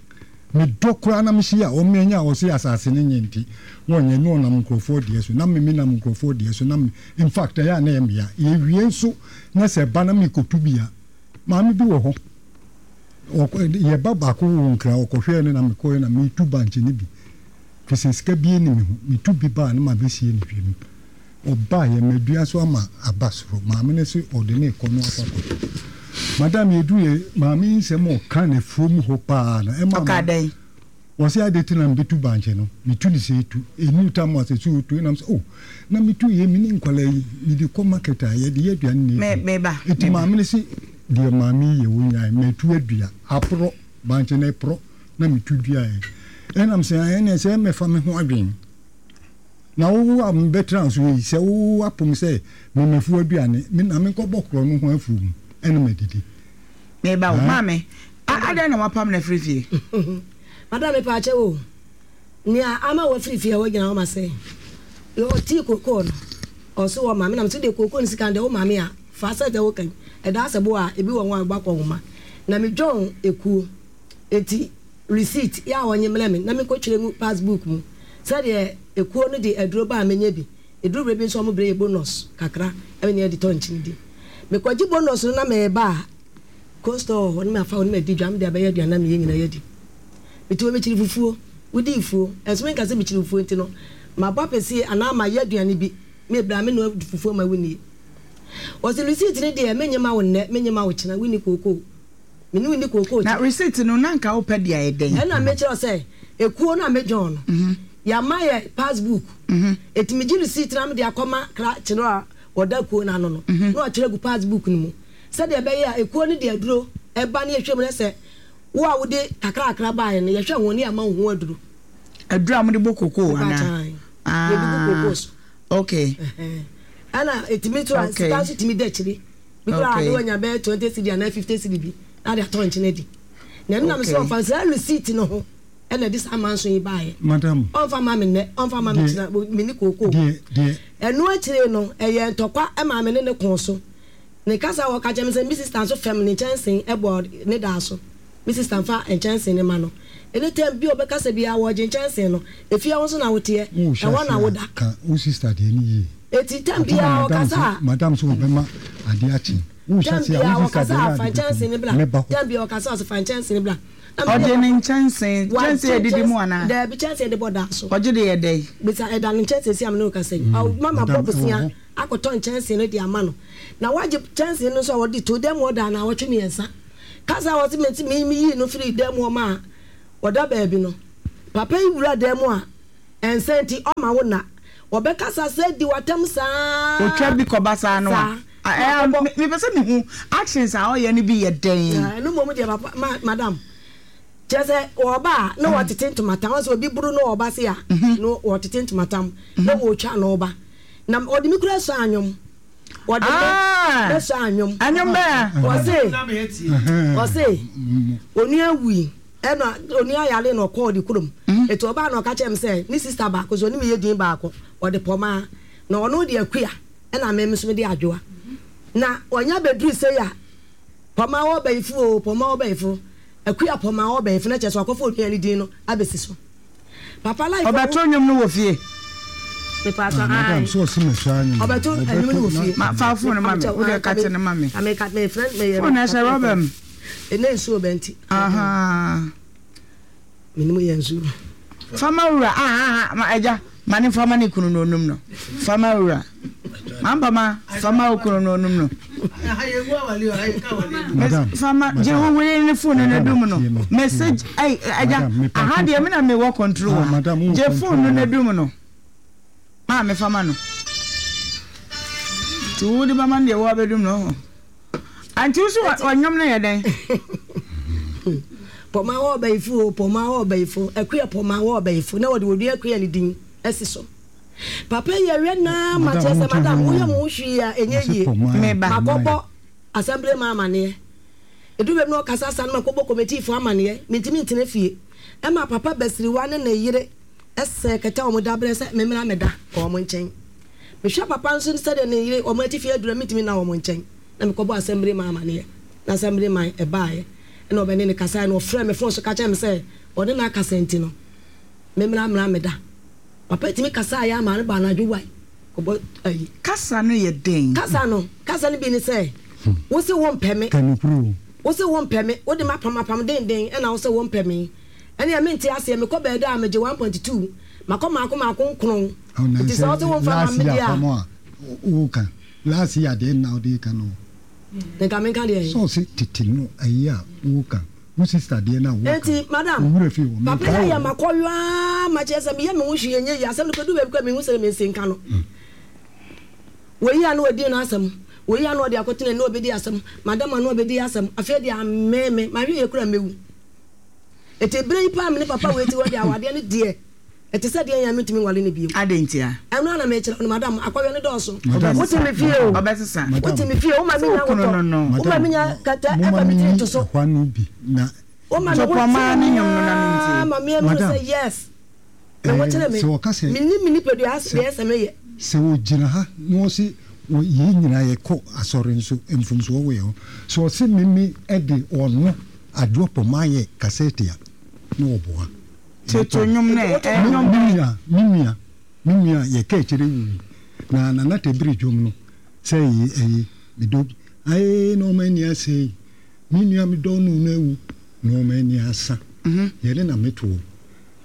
Speaker 4: mi dɔ koraa na mi si a ɔmo anya a ɔsi asase ne nye nti wɔnyɛ ne ɔnam nkurɔfoɔ deɛ so na mi mi nam nkurɔfoɔ deɛ so na mi in fact ɛyɛ a na ɛyɛ mi ya yɛwie nso na sɛ ɛba na mi kotu bi a maame bi wɔ hɔ yɛba baako wɔ nkra ɔkɔhwɛɛ no na mekɔɛ na metu bankye no bi firi sɛ sika bie ne me ho metu bi baa na mabɛsie ne hwɛ mu ɔbaa yɛ madua so ama aba soro maame no se ɔde ne kɔ no akɔ akɔtɔ madam yɛdu yɛ maame yi nsɛm ɔka ne fuom hɔ paa no ɛma
Speaker 2: ɔka dɛn
Speaker 4: wɔse ade te na mebetu bankye no metu ne sɛ etu ɛnu tam asɛ sɛ ɔtu ɛnam sɛ oh na metu yɛ me ne nkwalaa yi mede kɔ market a yɛde yɛ aduane ne
Speaker 2: meba
Speaker 4: ɛti maame no se deɛ maame yɛ wo nyae metu adua aporɔ bankye no ɛporɔ na metu duaeɛ ɛnam sɛ ɛne sɛ mɛfa me ho adwen na wo a mebɛtena so yi sɛ wo apom sɛ memafu aduane me na menkɔbɔ korɔ no ho afuo mu ɛne madidi
Speaker 2: meba wo maame adɛn na wapam no afiri fie
Speaker 3: madam mepaakyɛ wo nea ama wafiri fie a wogyina hɔ ma sɛ ɔtii kokoo no ɔso wɔ maame nam so de kokoo no sika de wo maame a fa sɛ sɛ wokan ɛda sɛ bo a ebi wɔ ho a wobakɔ nwoma na medwɔn ekuo eti receipt yɛ a wɔnye mmerɛ me na menkɔtwerɛ ngu passbook mu sɛdeɛ ekuo no de aduro ba a menyɛ bi eduru berɛ bi nso ɔmo berɛ yɛ bonus kakra ɛne yɛde tɔ nkyene di mekɔgye bonus no na meba a coastal wɔ hɔ ne mafa hɔ ne madi dwa mede abɛyɛ aduane na meyɛ nyinaa yɛdi mete wɔ mekyiri fufuo wodii fuo ɛnso menka sɛ mekyiri fufuo nti no mabɔ apɛsie anaa mayɛ aduane bi mebra me noa fufuo ma wonie wɔsi receipt ne deɛ menye ma wo nnɛ menye ma wo kyena wonni kookoo mene wonni kookoo
Speaker 2: na receipt no na nka wopɛ deɛ ayɛ dɛn
Speaker 3: ɛna mekyerɛ sɛ ekuo no a medwɔn no yɛama yɛ passbook ɛti megye receipt na mede akɔma krakye no a wɔda kuo no ano no na wakyerɛ gu passbook no mu sɛdeɛ ɛbɛyɛ a ekuo no de aduro ɛba ne yɛhwɛ mu no sɛ wo a wode kakrakra baeɛ no yɛhwɛ ho ne yɛama wo ho aduro
Speaker 2: aduro a mode bɔ kokoo anaa
Speaker 3: yɛde gu kokoo so
Speaker 2: okay
Speaker 3: ɛna ɛtumi to a sika nso tumi da akyiri bi koraa ade wanya bɛyɛ twenty cedi anaa fifty cedi bi na de atɔ nkyene adi na ɛno nam sɛ ɔmfa saa receipt no ho ɛna ɛde saa manso yi baeɛ
Speaker 4: madam
Speaker 3: ɔmfa ma me nnɛ ɔmfa ma me kyena me ne kookoo ɛno akyire no ɛyɛ ntɔkwa ɛma me ne ne kɔn so ne kasa a wɔka kyerɛ me sɛ me sister nso fɛm ne nkyɛnsen ɛbɔ ne daa so me sister nfa nkyɛnsen ne ma no ɛne tɛm bi a ɔbɛkasa biara wɔgye nkyɛnsen no efie hɔ nso na woteɛ ɛhɔ na woda
Speaker 4: ka wo sister deɛ ne yie
Speaker 3: eti tɛm biara ɔkasa a
Speaker 4: madam so wɔbɛma adeɛ akye
Speaker 3: tɛm biara ɔkasa a fa nkyɛnsen ne bla tɛm biara ɔkasa a ɔsɛ fa nkyɛnsen ne bla
Speaker 2: Ɔgye ne nkyɛnsee nkyɛnsee yɛ didi mu anaa?
Speaker 3: Daabi, kyɛnsee de bɔ da so.
Speaker 2: Ɔgye de yɛ dɛn?
Speaker 3: Bisa ɛda no nkyɛnsee si a me ne wo kasa yi. Mama bɔ bosea akɔtɔ nkyɛnsee no de ama no. Na wagye kyɛnsee no nso a ɔde to dan mu hɔ daa naawɔtwe mmiɛnsa. Kasa a ɔse me me meyii no firii dan mu hɔ maa ɔda baabi no, papa yi wura dan mu a ɛnsa nti ɔma wo nna. Ɔbɛkasa sɛ di w'atɛm saa.
Speaker 2: Otwa bi kɔba saa no a,
Speaker 3: Saa.
Speaker 2: ɛɛ mepɛ sɛ mehu actions a ɔyɛ no bi yɛ dɛn?
Speaker 3: Ɛno mmom deɛ papa ma madam kyerɛ sɛ ɔba a na wɔtete ntomatam wɔn sɛ obi buru na ɔba se a na wɔtete ntomatam na wɔtwa na ɔba na ɔde me kura sɔ anwom ɔde me bɛsɔ anwom.
Speaker 2: Anwom bɛn?
Speaker 3: Ɔse ɔse onua wui ɛna onua yare na ɔkɔɔ de kurom eti ɔbaa na ɔka kyerɛ me sɛ ne sista baako so ɔne me yɛ din baako ɔde pɔmaa na ɔno de akua ɛna me nso mede adwoa na ɔnya bɛduru sei a pɔmaa wɔ bɛyifo o pɔmaa wɔ bɛyifo akua pɔmaa wɔ bɛyifo na kyerɛ sɛ wakɔfa onua ne din no abɛsi so papa life
Speaker 2: Ɔbɛto nnwom no wɔ fie.
Speaker 3: Mepatɔ
Speaker 4: Madam,
Speaker 3: ae
Speaker 4: so ɔsi mɛsɔ anwom.
Speaker 3: Ɔbɛto nnwom no wɔ fie.
Speaker 2: Ma fa phone ma me. Wo deɛ ka kyerɛ no ma me.
Speaker 3: Meka me friend meyɛ
Speaker 2: Phone ɛhyɛ rɔba mu.
Speaker 3: Ɛnɛ nsuo bɛ nti.
Speaker 2: Ahaa.
Speaker 3: Menim yɛ nsuo.
Speaker 2: Fama wura ah ah ma agya ma ne fama ne kunu no onum no. Fama wura. Mampa ma fama wo kunu no onum no.
Speaker 4: Madam,
Speaker 2: Fama gye wo were ne phone no dum no. Message ai agya aha deɛ me na me wɔ control
Speaker 4: Ah,
Speaker 2: ha.
Speaker 4: madam, wo
Speaker 2: Gye phone no
Speaker 4: control.
Speaker 2: na dum no. Ma me fama no. Ti wo de bama no deɛ wo abɛdum no ho. Anti wo so ɔnwom no yɛ dɛn?
Speaker 3: Pɔmaa wɔ ɔbɛyifo o pɔmaa wɔ ɔbɛyifo akua pɔmaa wɔ ɔbɛyifo na wɔde wɔdua akua ne din asi so. Papa yi ɛwɛ naa ma kyerɛ sɛ madam woyɛ mo ho hwee a ɛnyɛ yie.
Speaker 2: Meba.
Speaker 3: Makɔbɔ assembly ma amaneɛ. Edu baabi na ɔkasa sa no makɔbɔ committee fo amaneɛ. Mentumi ntena fie. Ɛma papa Basiriwa ne ne yere ɛsɛ kɛtɛ a wɔn da brɛ sɛ memmra mɛda wɔn nkyɛn. Mehwɛ papa nso sɛdeɛ ne yere wɔn atifi aduru a mentumi nna wɔn nkyɛn. Na mekɔbɔ assembly ma amaneɛ. Na assembly man ɛbaeɛ. Ɛna ɔbɛne ne kasaeɛ na ɔfrɛ me phone so ka kyerɛ me sɛ ɔne no akasa nti no memmra mmra mɛda. Papa tumi kasaeɛ ama no ba anadwo wae kɔbɔ ayi.
Speaker 2: Kasa no yɛ dɛn?
Speaker 3: Kasa no kasa no bi ne sɛ wo se wo mpɛ me.
Speaker 4: Kanukuru.
Speaker 3: Wo se wo mpɛ me wode ma apam apam denden ɛna wo se wo mpɛ me. Ɛne ɛme nte aseɛ mekɔ baabi a megye one point two makɔ maako maako nkron. Nti sɛ wo se wo mfa ma
Speaker 4: Last
Speaker 3: me
Speaker 4: year
Speaker 3: deɛ a.
Speaker 4: apam a woka. Last year deɛ na wode ka no.
Speaker 3: Nka menka deɛ.
Speaker 4: Sɛ ɔse tete no ayi a woka. Wo sister deɛ na woka.
Speaker 3: Enti madam
Speaker 4: Wo werɛ fi wɔ
Speaker 3: papa
Speaker 4: menkae
Speaker 3: yi ayɛ
Speaker 4: wɔ.
Speaker 3: makɔyɔ ma kyerɛ sɛ meyɛ me ho hwee nyɛ yie asɛm no kɔdu baabi kɔ mehu sɛ mensi nka no. Wɔyi a na wɔdi no asɛm wɔyi a na wɔde akɔtena na wɔbɛdi asɛm madam a na wɔbɛdi asɛm afei deɛ amee me mahwɛ yɛ kura mɛwu. Eti bere yi paa me ne papa wei ti hɔ deɛ awadeɛ no deɛ ɛte sɛ deɛ yɛn mentumi nwale no bio.
Speaker 2: Adɛn ntia?
Speaker 3: Ɛno ana mekyerɛ no madam akɔyɔ no dɔɔso.
Speaker 4: Madam,
Speaker 3: Wote me fie o.
Speaker 2: Ɔbɛsesa.
Speaker 4: Madam,
Speaker 3: Wote me fie o woma me nya
Speaker 2: Sɛ wo kunu no no.
Speaker 3: wotɔ woma me nya kɛtɛ ɛfa me tiri to so.
Speaker 4: ɛhɔ no bi na
Speaker 3: Woma me
Speaker 2: So
Speaker 3: ho
Speaker 2: pɔmaa ne nnwom no na mentie.
Speaker 3: ma me ahunu
Speaker 4: Madam,
Speaker 3: sɛ yes. Me ho kyerɛ me.
Speaker 4: sɛ wɔka sɛ
Speaker 3: Menim me nipadua deɛ ɛsɛ meyɛ.
Speaker 4: sɛ wɔgyina ha na wɔse wɔ- yɛn nyinaa yɛkɔ asɔre nso mfomsoɔ wɔ yɛn ho sɛ ɔse meme de ɔno adwoa pɔma yɛ cassette a na wɔboa
Speaker 2: Toto nnwom no ɛ ɛ
Speaker 4: me
Speaker 2: nnwom
Speaker 4: me
Speaker 2: bɛn?
Speaker 4: nua me nua me nua yɛka akyire wui na nana tɛbiri dwom no sɛ ɛyi ɛyi medɔ ae na ɔma ani asɛe me nua medɔ no no awu na ɔma ani asa yɛne na metoɔ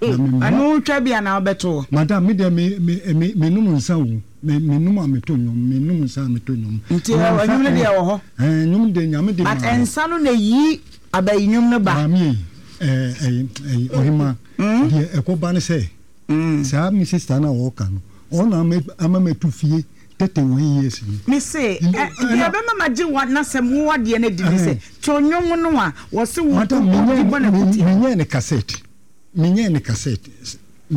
Speaker 4: na mema
Speaker 2: Ɛno wotwa bi anaa wobɛto?
Speaker 4: Madam, me deɛ me me me menom nsa o me menom a meto nnwom menom nsa a meto nnwom.
Speaker 2: Nti
Speaker 4: Na
Speaker 2: ɛ
Speaker 4: nsa
Speaker 2: nnwom no deɛ wɔ hɔ.
Speaker 4: Ɛɛ nnwom deɛ Nyame de
Speaker 2: But
Speaker 4: maa me.
Speaker 2: nsa no na yi abayi nnwom no ba.
Speaker 4: Maame yi ɛɛ ɛyi ɛyi ɔhema deɛ ɛkɔba ne sɛ saa me sister na wɔka no ɔna ama ama mɛtu fie thirty one years ni.
Speaker 2: Me se ɛ deɛ ɛbɛma ma gye wa n'asɛm wo adeɛ no adi ne sɛ to nnwom no a wɔse wo
Speaker 4: Madam
Speaker 2: wo
Speaker 4: menyɛ
Speaker 2: bɔ na kutia.
Speaker 4: menyɛ ne cassette menyɛ ne cassette.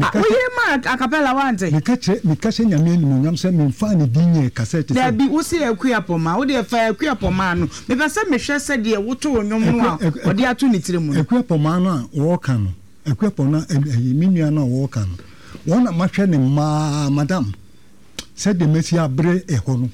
Speaker 2: Ah, woyɛ ma acapella wante?
Speaker 4: Meka kyerɛ meka hyɛ Nyame animuonyam sɛ memfaa ne din nyɛɛ cassette sɛ.
Speaker 2: Dabi, wo se Akua Pɔmaa, wo deɛ fa Akua Pɔmaa no. Mepɛ sɛ mehwɛ sɛdeɛ wotoo nnwom no a ɔde ato ne tiri mu no.
Speaker 4: Akua Pɔmaa no a wɔreka no, Akua Pɔmaa ɛyi me nua no a wɔreka no, wɔn na mahwɛ ne mmaa madam sɛdeɛ masi abrɛ ɛhɔ no.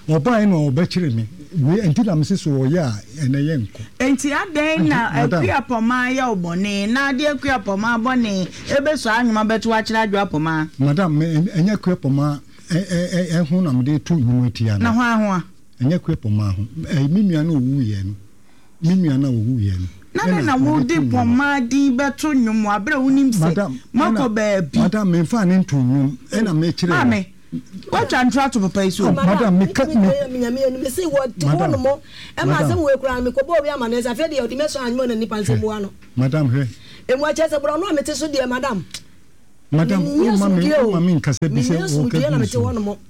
Speaker 4: Ɔbaeɛ na ɔbɛkyere me. Wei nti na mese so ɔyɛ a ɛnɛ yɛ nkɔ.
Speaker 2: Enti adɛn na Akua Pɔmaa yɛ wo bɔne na ade Akua Pɔmaa bɔne ɛbɛsɔ anwoma bɛto akyerɛ Adwoa Pɔmaa?
Speaker 4: Madam, me ɛnyɛ Akua Pɔmaa ɛho na mede to nnwom atia no.
Speaker 2: Na hwan ho a?
Speaker 4: Ɛnyɛ Akua Pɔmaa ho. Ɛyi me nua no ɔwuiɛ no. Me nua no a ɔwuiɛ no.
Speaker 2: Na ne na wode pɔmaa din bɛto nnwom aberɛ a wonim sɛ makɔ baabi.
Speaker 4: Madam, memfa ne nto nnwom ɛna mekyerɛ.
Speaker 2: Maame, watwa ntoro ato papa yi so.
Speaker 4: Madam, meka
Speaker 3: me me se wɔ te hɔ no mo ɛma asɛm wɔ ekura no mekɔbɔ obi ama ne nsa afei deɛ ɔde mɛsɔ anyima na nipa nsɛm mua no.
Speaker 4: Madam, hwɛ.
Speaker 3: Emu akyɛ sɛ borɔ no a mete so deɛ, madam.
Speaker 4: Madam, woma me woma me nkasa bi sɛ wɔka gu so.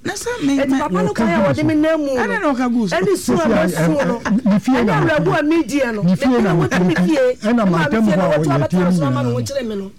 Speaker 2: Na sɛ me
Speaker 3: Eti papa no kwan a wɔde me nam mu no,
Speaker 2: ɛne na ɔka gu so.
Speaker 3: Ɛne su a mɛsu no, ɛne awerɛhoɔ a mediɛ no, mepene wo te me fie,
Speaker 4: ɛna
Speaker 3: ɛma me
Speaker 4: mantam
Speaker 3: fie
Speaker 4: hɔ
Speaker 3: na
Speaker 4: a
Speaker 3: wɔto
Speaker 4: wɔyɛ
Speaker 3: abɛtena
Speaker 4: tie
Speaker 3: me
Speaker 4: no
Speaker 3: so ama me
Speaker 4: nyinaa
Speaker 3: ho
Speaker 4: no.
Speaker 3: kyere me no.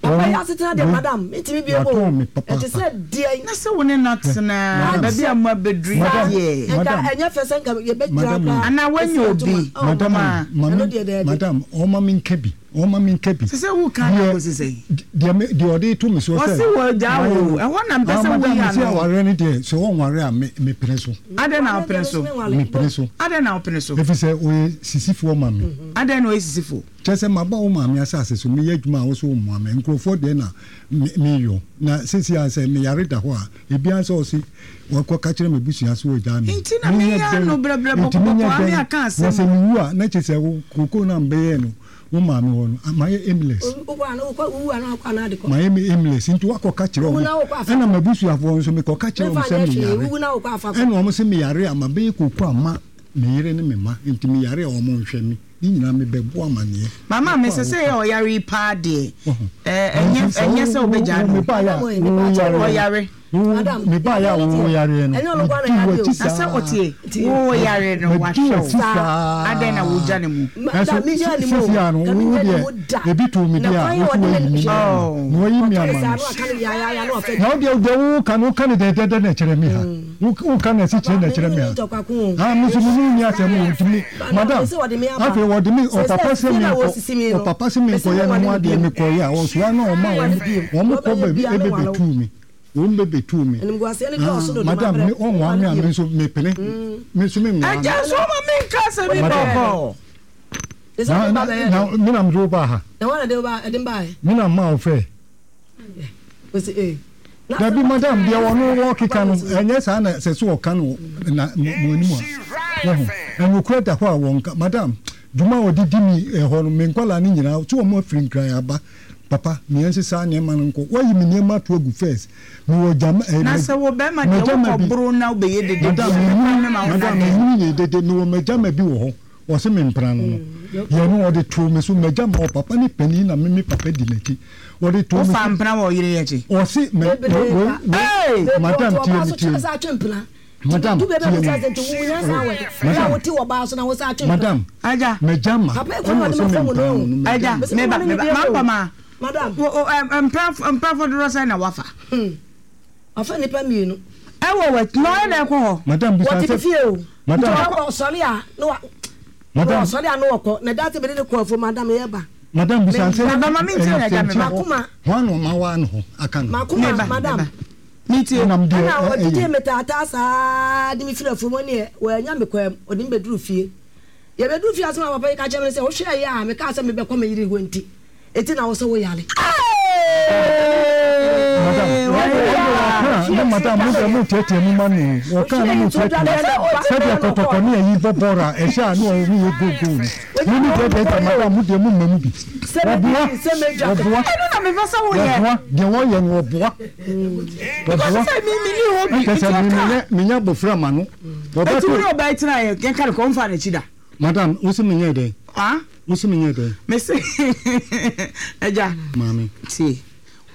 Speaker 3: Papa yi asetena deɛ, madam, mentumi bio
Speaker 4: Watɔn
Speaker 3: o.
Speaker 4: me
Speaker 3: Ɛte
Speaker 4: papaapa.
Speaker 3: sɛ deɛn?
Speaker 2: Na sɛ wo ne no atena
Speaker 4: Madam.
Speaker 2: baabi a mo abɛduru yi
Speaker 4: Madam.
Speaker 2: deɛ.
Speaker 3: Nka
Speaker 4: Madam.
Speaker 3: ɛnyɛ fɛ sɛ nka yɛbɛgyina
Speaker 4: Madam.
Speaker 3: koraa.
Speaker 2: Anaa woanya
Speaker 3: Ɛsi
Speaker 2: obi.
Speaker 3: ntoma. Oh,
Speaker 4: Madam,
Speaker 2: Ma.
Speaker 4: ma
Speaker 3: Ɛno
Speaker 4: me
Speaker 3: deɛ daabi.
Speaker 4: Madam, ɔma me nka bi, ɔma me nka bi.
Speaker 2: Sɛ sɛ woka na
Speaker 4: Deɛ
Speaker 2: akɔsi sɛn?
Speaker 4: deɛ me deɛ ɔde to me so sɛ.
Speaker 2: Wɔse wɔagyaa wo. Ɛhɔ na mpɛ
Speaker 4: Ah,
Speaker 2: sɛ
Speaker 4: madam,
Speaker 2: woyi
Speaker 4: mese
Speaker 2: ano.
Speaker 4: awareɛ no deɛ, sɛ ɔnware a, me mepene so.
Speaker 2: Adɛn na wopene so?
Speaker 4: Mepene so.
Speaker 2: Adɛn na wopene so?
Speaker 4: Ɛfiri sɛ ɔyɛ sisifoɔ ma me.
Speaker 2: Adɛn na ɔyɛ sisifoɔ?
Speaker 4: Kyerɛ sɛ maba wo maame asase so, meyɛ adwuma a wo so wommoa me. Nkurɔfoɔ deɛ na me meyɔ. Na seesei a sɛ meyare da hɔ a, ebiara sɛ ɔse wakɔka kyerɛ m'abusua sɛ wɔagyaa me.
Speaker 2: Nti na
Speaker 4: Menyɛ
Speaker 2: meyɛ
Speaker 4: dɛn?
Speaker 2: ano brɛbrɛ
Speaker 4: Nti menyɛ
Speaker 2: bɔkɔbɔkɔ ame
Speaker 4: dɛn?
Speaker 2: aka
Speaker 4: Na
Speaker 2: asɛm.
Speaker 4: sɛ mewu a, na kyerɛ sɛ wo kookoo no a mebɛyɛɛ no wo maame hɔ no, mayɛ aimless.
Speaker 3: Wokɔ a wokɔ wowu a na wakɔ anaa de kɔ.
Speaker 4: Mayɛ me aimless. Nti woakɔka kyerɛ
Speaker 3: Wowu
Speaker 4: wɔn.
Speaker 3: na wokɔ afa.
Speaker 4: Ɛna m'abusuafoɔ nso mekɔka kyerɛ wɔn
Speaker 3: Memfa
Speaker 4: sɛ
Speaker 3: nyɛ hwee,
Speaker 4: meyare.
Speaker 3: wowu na wokɔ afa kɔ.
Speaker 4: Ɛna wɔn se meyare a, mabɛyɛ kookoo ama me yere ne me mma. Nti meyare a wɔn nhwɛ me. Ne nyinaa mebɛbɔ amanneɛ.
Speaker 2: Mama me sɛ sɛ yɛ ɔyare yi paa deɛ, ɛnyɛ ɛnyɛ sɛ wobɛgyaa no.
Speaker 4: Mebaeɛ a woyare.
Speaker 3: Madam,
Speaker 4: Mebaeɛ a woyare no.
Speaker 3: Ɛnyɛ ɔno nko ara na
Speaker 4: Medi
Speaker 3: yare o.
Speaker 4: w'akyi
Speaker 2: Na sɛ
Speaker 4: saa.
Speaker 2: ɔtie wo yare no
Speaker 4: Medi
Speaker 2: wahwɛ
Speaker 4: w'akyi
Speaker 2: wo.
Speaker 4: saa.
Speaker 2: Adɛn na wogya ne mu?
Speaker 4: Ɛnso
Speaker 3: Madam, menya ne mu o.
Speaker 4: sisi a no
Speaker 3: Ka
Speaker 4: wo
Speaker 3: menya ne
Speaker 4: deɛ
Speaker 3: mu da.
Speaker 4: ebi to me
Speaker 3: Na
Speaker 4: deɛ a
Speaker 3: kwan a
Speaker 4: wo so
Speaker 3: ɔde
Speaker 4: wayi
Speaker 3: me
Speaker 4: me
Speaker 3: hwɛ.
Speaker 4: ama na wayi me
Speaker 3: Ɔka ne
Speaker 4: ama
Speaker 3: saa
Speaker 4: no.
Speaker 3: na waka no yaayaaya na ɔfɛ.
Speaker 4: Na wo deɛ deɛ wo ka no, wo ka no dɛdɛdɛ na ɛkyerɛ me ha. Wo wo ka no ɛsi kyerɛ na ɛkyerɛ me ha. Ah, me nso me ne wo nni asɛm o, nti me madam, afei wɔde me ɔpapa sɛ menkɔ ɔpapa sɛ menkɔyɛ ne ho adeɛ, mekɔyɛ a ɔsoa na ɔma wɔn wɔn kɔ baabi ɛbɛbɛtuu me, wɔn bɛbɛtuu me. Ah, madam, me ɔnwaa me a, me nso mepene, me nso menwaa no.
Speaker 2: Agya nso ɔma menka asɛm yi
Speaker 4: Madam.
Speaker 2: bɔkɔɔ.
Speaker 4: Na na na me na mede wo baa ha.
Speaker 3: Na wɔn na de wo ba ɛde mbaeɛ.
Speaker 4: Me na mmaa wo fɛ.
Speaker 3: Ɔsi ee.
Speaker 4: Dabi madam, deɛ ɔno wɔkeka no ɛnyɛ saa na sɛ so ɔka no na mo anim a wɔho ɛnokorɛ da hɔ a wɔnka. Madam, dwuma a ɔde di mi ɛhɔ no, me nkwadaa no nyinaa so wɔn afiri Nkran aba. Papa, meɛ nsesa nneɛma no nkɔ, wayi me nneɛma ato agu first, mewɔ gyama ɛɛ
Speaker 2: Na sɛ wo bɛrima deɛ
Speaker 4: magyama
Speaker 2: wokɔ
Speaker 4: bi
Speaker 2: boro na wobɛyɛ dede
Speaker 4: madam
Speaker 2: deɛ,
Speaker 4: menyini
Speaker 2: mekwan mema wo
Speaker 4: madam
Speaker 2: na dɛn?
Speaker 4: Menyini yɛ dede, mewɔ magyama bi wɔ hɔ, ɔse me mpena no no yɛ no ɔde too me so. Magyama ɔpapa ne panin na me me papa di n'akyi, ɔde too me
Speaker 2: Wofa
Speaker 4: so.
Speaker 2: mpena wɔ ɔyere yi akyi?
Speaker 4: Ɔse mɛ
Speaker 3: Bebree
Speaker 4: wei
Speaker 3: pa.
Speaker 4: wei
Speaker 2: Hey!
Speaker 4: Madam, tie me, tie me, madam, tie me, madam, madam,
Speaker 2: Agya.
Speaker 4: Magyama ɛna ɔse me mpena no no
Speaker 2: Agya,
Speaker 4: magyama.
Speaker 2: meba meba mampɔ ma.
Speaker 3: Madam.
Speaker 2: Wo o ɛ mpena mpenafo dodoɔ sɛn na wafa?
Speaker 3: Ɔfa nipa mmienu.
Speaker 2: Ɛwɔ wɔ na ɔyɛ dɛ kɔ hɔ.
Speaker 4: Madam, bisa
Speaker 3: Wɔte
Speaker 4: sɛ
Speaker 3: me fie o.
Speaker 4: Madam.
Speaker 3: Nti ɔkɔ ɔsɔre a na wa
Speaker 4: Madam.
Speaker 3: Ɔsɔre a na wɔkɔ na da sɛ mede ne kɔ afuom, madam, yɛba.
Speaker 4: Madam, bisa sɛ
Speaker 2: Meba ma mentie na agya meba.
Speaker 3: Makoma.
Speaker 4: Hwan na ɔma waa ne ho aka no?
Speaker 3: Makoma.
Speaker 2: Meba
Speaker 3: Madam.
Speaker 2: meba. Metie.
Speaker 4: Ɛnam deɛ
Speaker 3: Ɛna
Speaker 4: ɛ-
Speaker 3: ɔgyegye
Speaker 4: ɛyɛ
Speaker 3: me taataa saa de me firi afuom ne wɔanya me kwan mu, ɔde me bɛduru fie. Yɛbɛduru fie, asɛm a papa yi ka kyerɛ me ne sɛ wohwɛ yɛ a mekaa sɛ mebɛkɔ me yere hɔ nti ɛti na wo sɛ woyare.
Speaker 4: Madam, wɔka ne madam mo deɛ mo tiatia mu ma no, wɔka ne mo tiatia mu sɛdeɛ kɔtɔkɔ ne ayi bɔ bɔɔl a ɛhyɛ a ne ɔmo yɛ go go no mo ne deɛ deɛ deɛ madam, mo deɛ mo mma mu bi wɔboa wɔboa.
Speaker 2: Ɛno na mepɛ sɛ woyɛ.
Speaker 4: Wɔboa deɛ wɔyɛ no, wɔboa.
Speaker 2: Because
Speaker 4: wɔboa
Speaker 2: sɛ me me ni hɔ bi
Speaker 4: ɛkyɛ
Speaker 2: nti
Speaker 4: sɛ me
Speaker 2: ɔka.
Speaker 4: menyɛ menyɛ abɔfra ma no
Speaker 2: Eti wo ne
Speaker 4: wɔbɛto.
Speaker 2: ɔbaa yi tena yɛ yɛnka no kɔ ɔmfa n'akyi da.
Speaker 4: Madam, wo se menyɛ dɛn?
Speaker 2: Ah?
Speaker 4: Wo se menyɛ dɛn?
Speaker 2: Mese agya.
Speaker 4: Maame.
Speaker 2: Tie.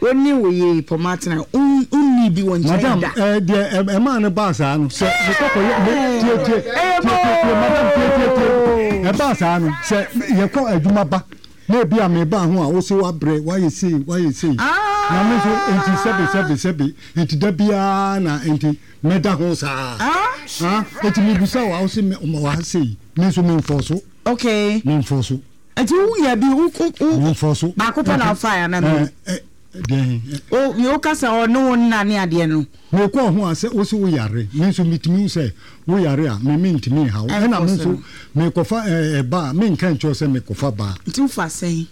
Speaker 2: Wo ne wo yere pɔmɔ atena, wonni bi wɔ nkyɛn
Speaker 4: Madam,
Speaker 2: da.
Speaker 4: ɛɛ deɛ ɛ- ɛmaa no baa saa no sɛ mekɔkɔ yɛ me tie tie
Speaker 2: Ɛyɛ
Speaker 4: tie tie tie madam, tie tie tie
Speaker 2: boo.
Speaker 4: Ɛbaa saa no sɛ yɛkɔ adwuma ba na ebi a meba ho a, wo se wabrɛ, wayɛ sei, wayɛ sei, na me nso nti sɛbe sɛbe sɛbe nti da biara na nti mɛda ho saa.
Speaker 2: Ah?
Speaker 4: Ah, nti mebisa wo a, wo se me wɔ ha sei, me nso memfɔ so.
Speaker 2: Okay.
Speaker 4: Memfɔ so.
Speaker 2: Nti wonya bi wo wo wo
Speaker 4: Memfɔ so.
Speaker 2: Baako pɛ na wofae ana mmienu?
Speaker 4: Ɛɛ deɛn?
Speaker 2: O mi wo kasa ɔne wo nna ne adeɛ no.
Speaker 4: Mekɔɔ ho a sɛ wo se woyare, me nso metumi hu sɛ woyare a, me mentumi nha wo, ɛna me nso mekɔfa ɛɛ ba a, menka nkyerɛ wo sɛ mekɔfa baa.
Speaker 2: Nti wofa sɛn?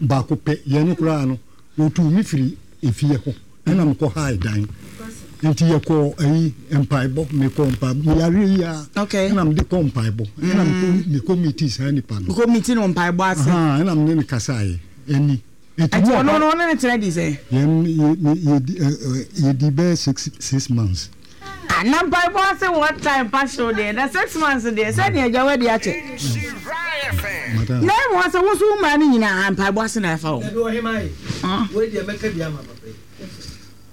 Speaker 4: Baako pɛ yɛn no koraa no, wɔtuu me firi efie hɔ ɛna mekɔ hae dan. Nti yɛkɔ ayi mpaebɔ, mekɔ mpaebɔ, meyare yi a.
Speaker 2: Okay.
Speaker 4: Ɛna mede kɔ mpaebɔ. Ɛna mekɔ mekɔ meeting saa nipa no.
Speaker 2: Mekɔ meeting no mpaebɔ ase.
Speaker 4: Ɛna mene ne kasaeɛ ɛni.
Speaker 2: Nti ɔno no ɔne ne tena di sɛ?
Speaker 4: Yɛn yɛ yɛdi bɛyɛ six six months.
Speaker 2: Ah, na mpaebɔ ase what time pa hyew deɛ na six months deɛ sɛdeɛ agya wadi akyɛ. Na emu asɛ wo nso wo mmaa no nyinaa mpaebɔ ase na ɛfa wɔn.
Speaker 5: Dabi ɔhema yi, wei deɛ mɛka bi ama papa yi.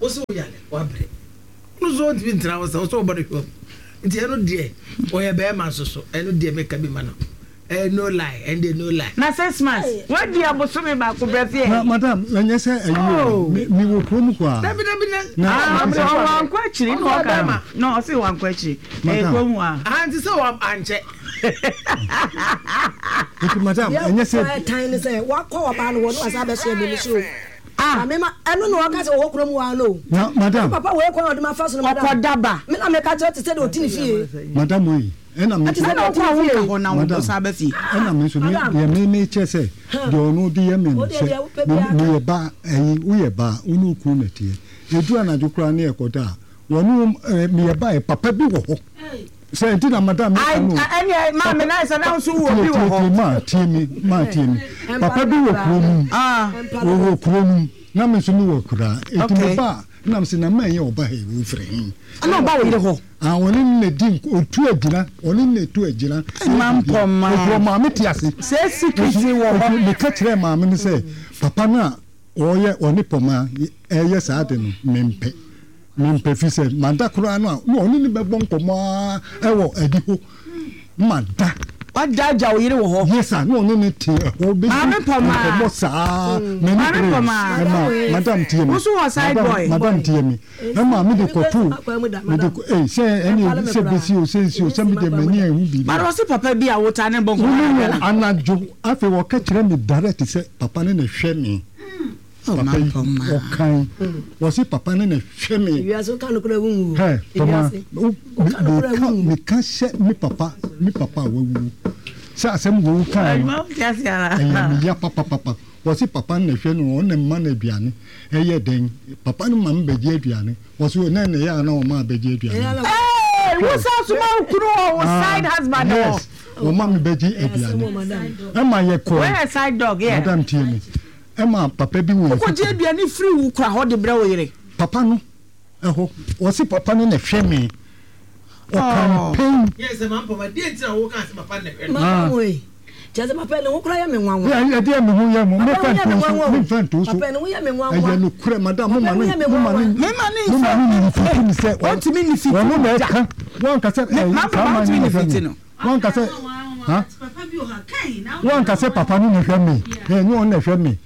Speaker 5: Wo sɛ woyare, wabrɛ. Ɔno nso ɔntumi ntena hɔ sɛ wo sɛ wobɔ no hwam. Nti ɛno deɛ ɔyɛ bɛrima nso so ɛno deɛ mɛka bi ma no. Eh, no lie, ɛno deɛ no lie.
Speaker 2: Na six months, wadi abosome baako brɛ fie.
Speaker 4: Na madam, ɛnyɛ sɛ ɛyi o, me me wɔ kurom hɔ a.
Speaker 5: Dabi dabi na.
Speaker 2: Ah, wankɔ akyiri na ɔka no. Na ɔse wankɔ akyiri. Ɛyɛ kurom hɔ a.
Speaker 5: Ah, nti sɛ wa ankyɛ.
Speaker 4: Nti madam, ɛnyɛ sɛ.
Speaker 3: Deɛ ɛtan ne sɛ wakɔ ɔbaa no hɔ na wasan abɛsoɛ me me so o. Ah. Maame ma ɛno na ɔka sɛ ɔwɔ kurom hɔ ara no o.
Speaker 4: Na madam.
Speaker 3: Papa wei kwan a ɔde ma fa so no madam.
Speaker 2: Ɔkɔ daba.
Speaker 3: Me na meka kyerɛ te sɛ deɛ ɔte ne fie.
Speaker 4: Madam wei ɛna me.
Speaker 3: Ɛte sɛ deɛ ɔte ne fie.
Speaker 2: Hɔ na wɔn san ba fie.
Speaker 4: Ɛna me nso me deɛ me me kyɛ sɛ deɛ ɔno de yɛ me no sɛ me meyɛ ba ɛyi woyɛ ba wo ne wo kunu na ɛteɛ edu anadwo koraa ne ɛkɔ da a wɔn ɛɛ meyɛ ba yɛ papa bi wɔ hɔ. Sɛ nti na madam mi ka no.
Speaker 2: Ɛnni maame na ɛsɛ na nso wɔ bi wɔ hɔ.
Speaker 4: Maa tie mi maa tie mi papa bi wɔ kuro no mu wɔ kuro no mu na mi nso mi wɔ kura eti mi ba na mi sɛ na mɛ yɛ ɔba ha yi wo firi hin.
Speaker 2: Ɛna ɔba wɔ yere hɔ.
Speaker 4: Ah ɔne ne di otu agyina ɔne ne tu agyina.
Speaker 2: Maa mpɔ maa.
Speaker 4: Etu maame ti ase.
Speaker 2: Sɛ sikiriti wɔ hɔ.
Speaker 4: Mi ka kyerɛ maame no sɛ papa no a ɔyɛ ɔne pɔma ɛyɛ saa de no mi mpɛ. Mempɛ fi sɛ mada koraa no a na ɔne ne bɛbɔ nkɔmmɔ ara ɛwɔ adi hɔ mada.
Speaker 2: Wada agya wo yere wɔ hɔ.
Speaker 4: Yes sir, na ɔne ne te ɛhɔ bɛdi nkɔmmɔ saa.
Speaker 2: Maame Pɔmaa.
Speaker 4: Ɛma madam tie me.
Speaker 2: Wo nso wɔ side boy.
Speaker 4: Madam tie me. Ɛma me de kɔto me de ee sɛ ɛne sɛ besi o sɛ nsi o sɛ me de m'ani ɛhu biribi.
Speaker 2: Mara ɔse papa bi a wotaa ne bɔ nkɔmmɔ.
Speaker 4: Wo ne no anadwo afei wɔka kyerɛ me direct sɛ papa ne na ɛhwɛ me. Papa yi ɔkan wɔsi papa ne na hwɛ me.
Speaker 3: Ewiase woka no kora wunwu.
Speaker 4: Hɛ tɔma meka meka hyɛ me papa me papa a wawu sɛ asɛm wo kan no ɛyɛ me ya papapapa wɔsi papa ne na hwɛ no ɔne mma no aduane ɛyɛ dɛn papa no ma me bɛgye aduane wɔsi ɔne na ɛyɛ ana ɔma abɛgye aduane.
Speaker 2: Ee wusa suma okunu wɔ wo side husband wɔ.
Speaker 4: Yes ɔma me bɛgye aduane ɛma yɛ kɔ.
Speaker 2: Wɔyɛ side dog yeah.
Speaker 4: Madam tie me. Ɛma papa bi wɔ.
Speaker 2: Wokɔgye aduane firi wo kura hɔ de brɛ wo yere.
Speaker 4: Papa no ɛhɔ wɔsi papa no na ɛhwɛ me ɔkan pɛn.
Speaker 5: Yɛ sɛ maa mpɔmɔ deɛ nti na wo kan sɛ papa na ɛhwɛ no.
Speaker 3: Maa mpɔmɔ yi kyerɛ sɛ papa ne ho kura yɛ me nwanwa.
Speaker 4: Yɛ ɛdeɛ mi ho yɛ mo mefa nto so mefa nto so
Speaker 3: papa ne ho yɛ me nwanwa.
Speaker 4: Ɛyɛ no korɛ madam mo ma ne mo ma ne
Speaker 2: mo
Speaker 4: ma ne nifiti mi sɛ
Speaker 2: ɔntumi nifiti
Speaker 4: wɔn na ɛka wɔn kasa ɛɛ saa maa ne na ɛhwɛ me wɔn kasa ha wɔn kasa papa no na ɛhwɛ me ɛnyɛ wɔn na ɛhwɛ me.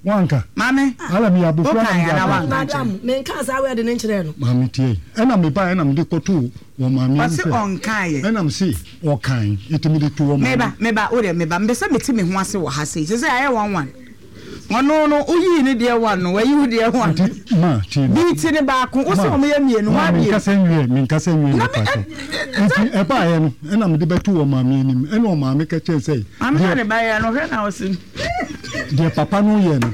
Speaker 4: Wanka.
Speaker 2: Maame.
Speaker 4: Ala mi abofra na mi akɔ.
Speaker 3: Madam, me nka saa word ne nkyerɛ no.
Speaker 4: Maame tie. Ɛna me ba ɛna me de kɔto wɔ maame anim
Speaker 2: sɛ. Ɔse ɔnka yɛ.
Speaker 4: Ɛna me se ɔkan eti me de to wɔ maame.
Speaker 2: Meba meba o deɛ meba mepɛ sɛ mete me ho ase wɔ ha sei sɛ sɛ ayɛ one one. Ɔno no woyii ne deɛ one no wayi wo deɛ one.
Speaker 4: Nti ma tie me.
Speaker 2: Bi ti ne baako wo se wɔn yɛ mmienu
Speaker 4: ma abien. Ma menkasa nwie menkasa nwie ne pa so. Nti ɛbaeɛ no ɛna mede bɛto wɔ maame anim ɛna ɔmaame ka kyerɛ sɛ.
Speaker 2: Maame na ne ba yɛ no hwɛ na ɔse.
Speaker 4: Deɛ papa no yɛ no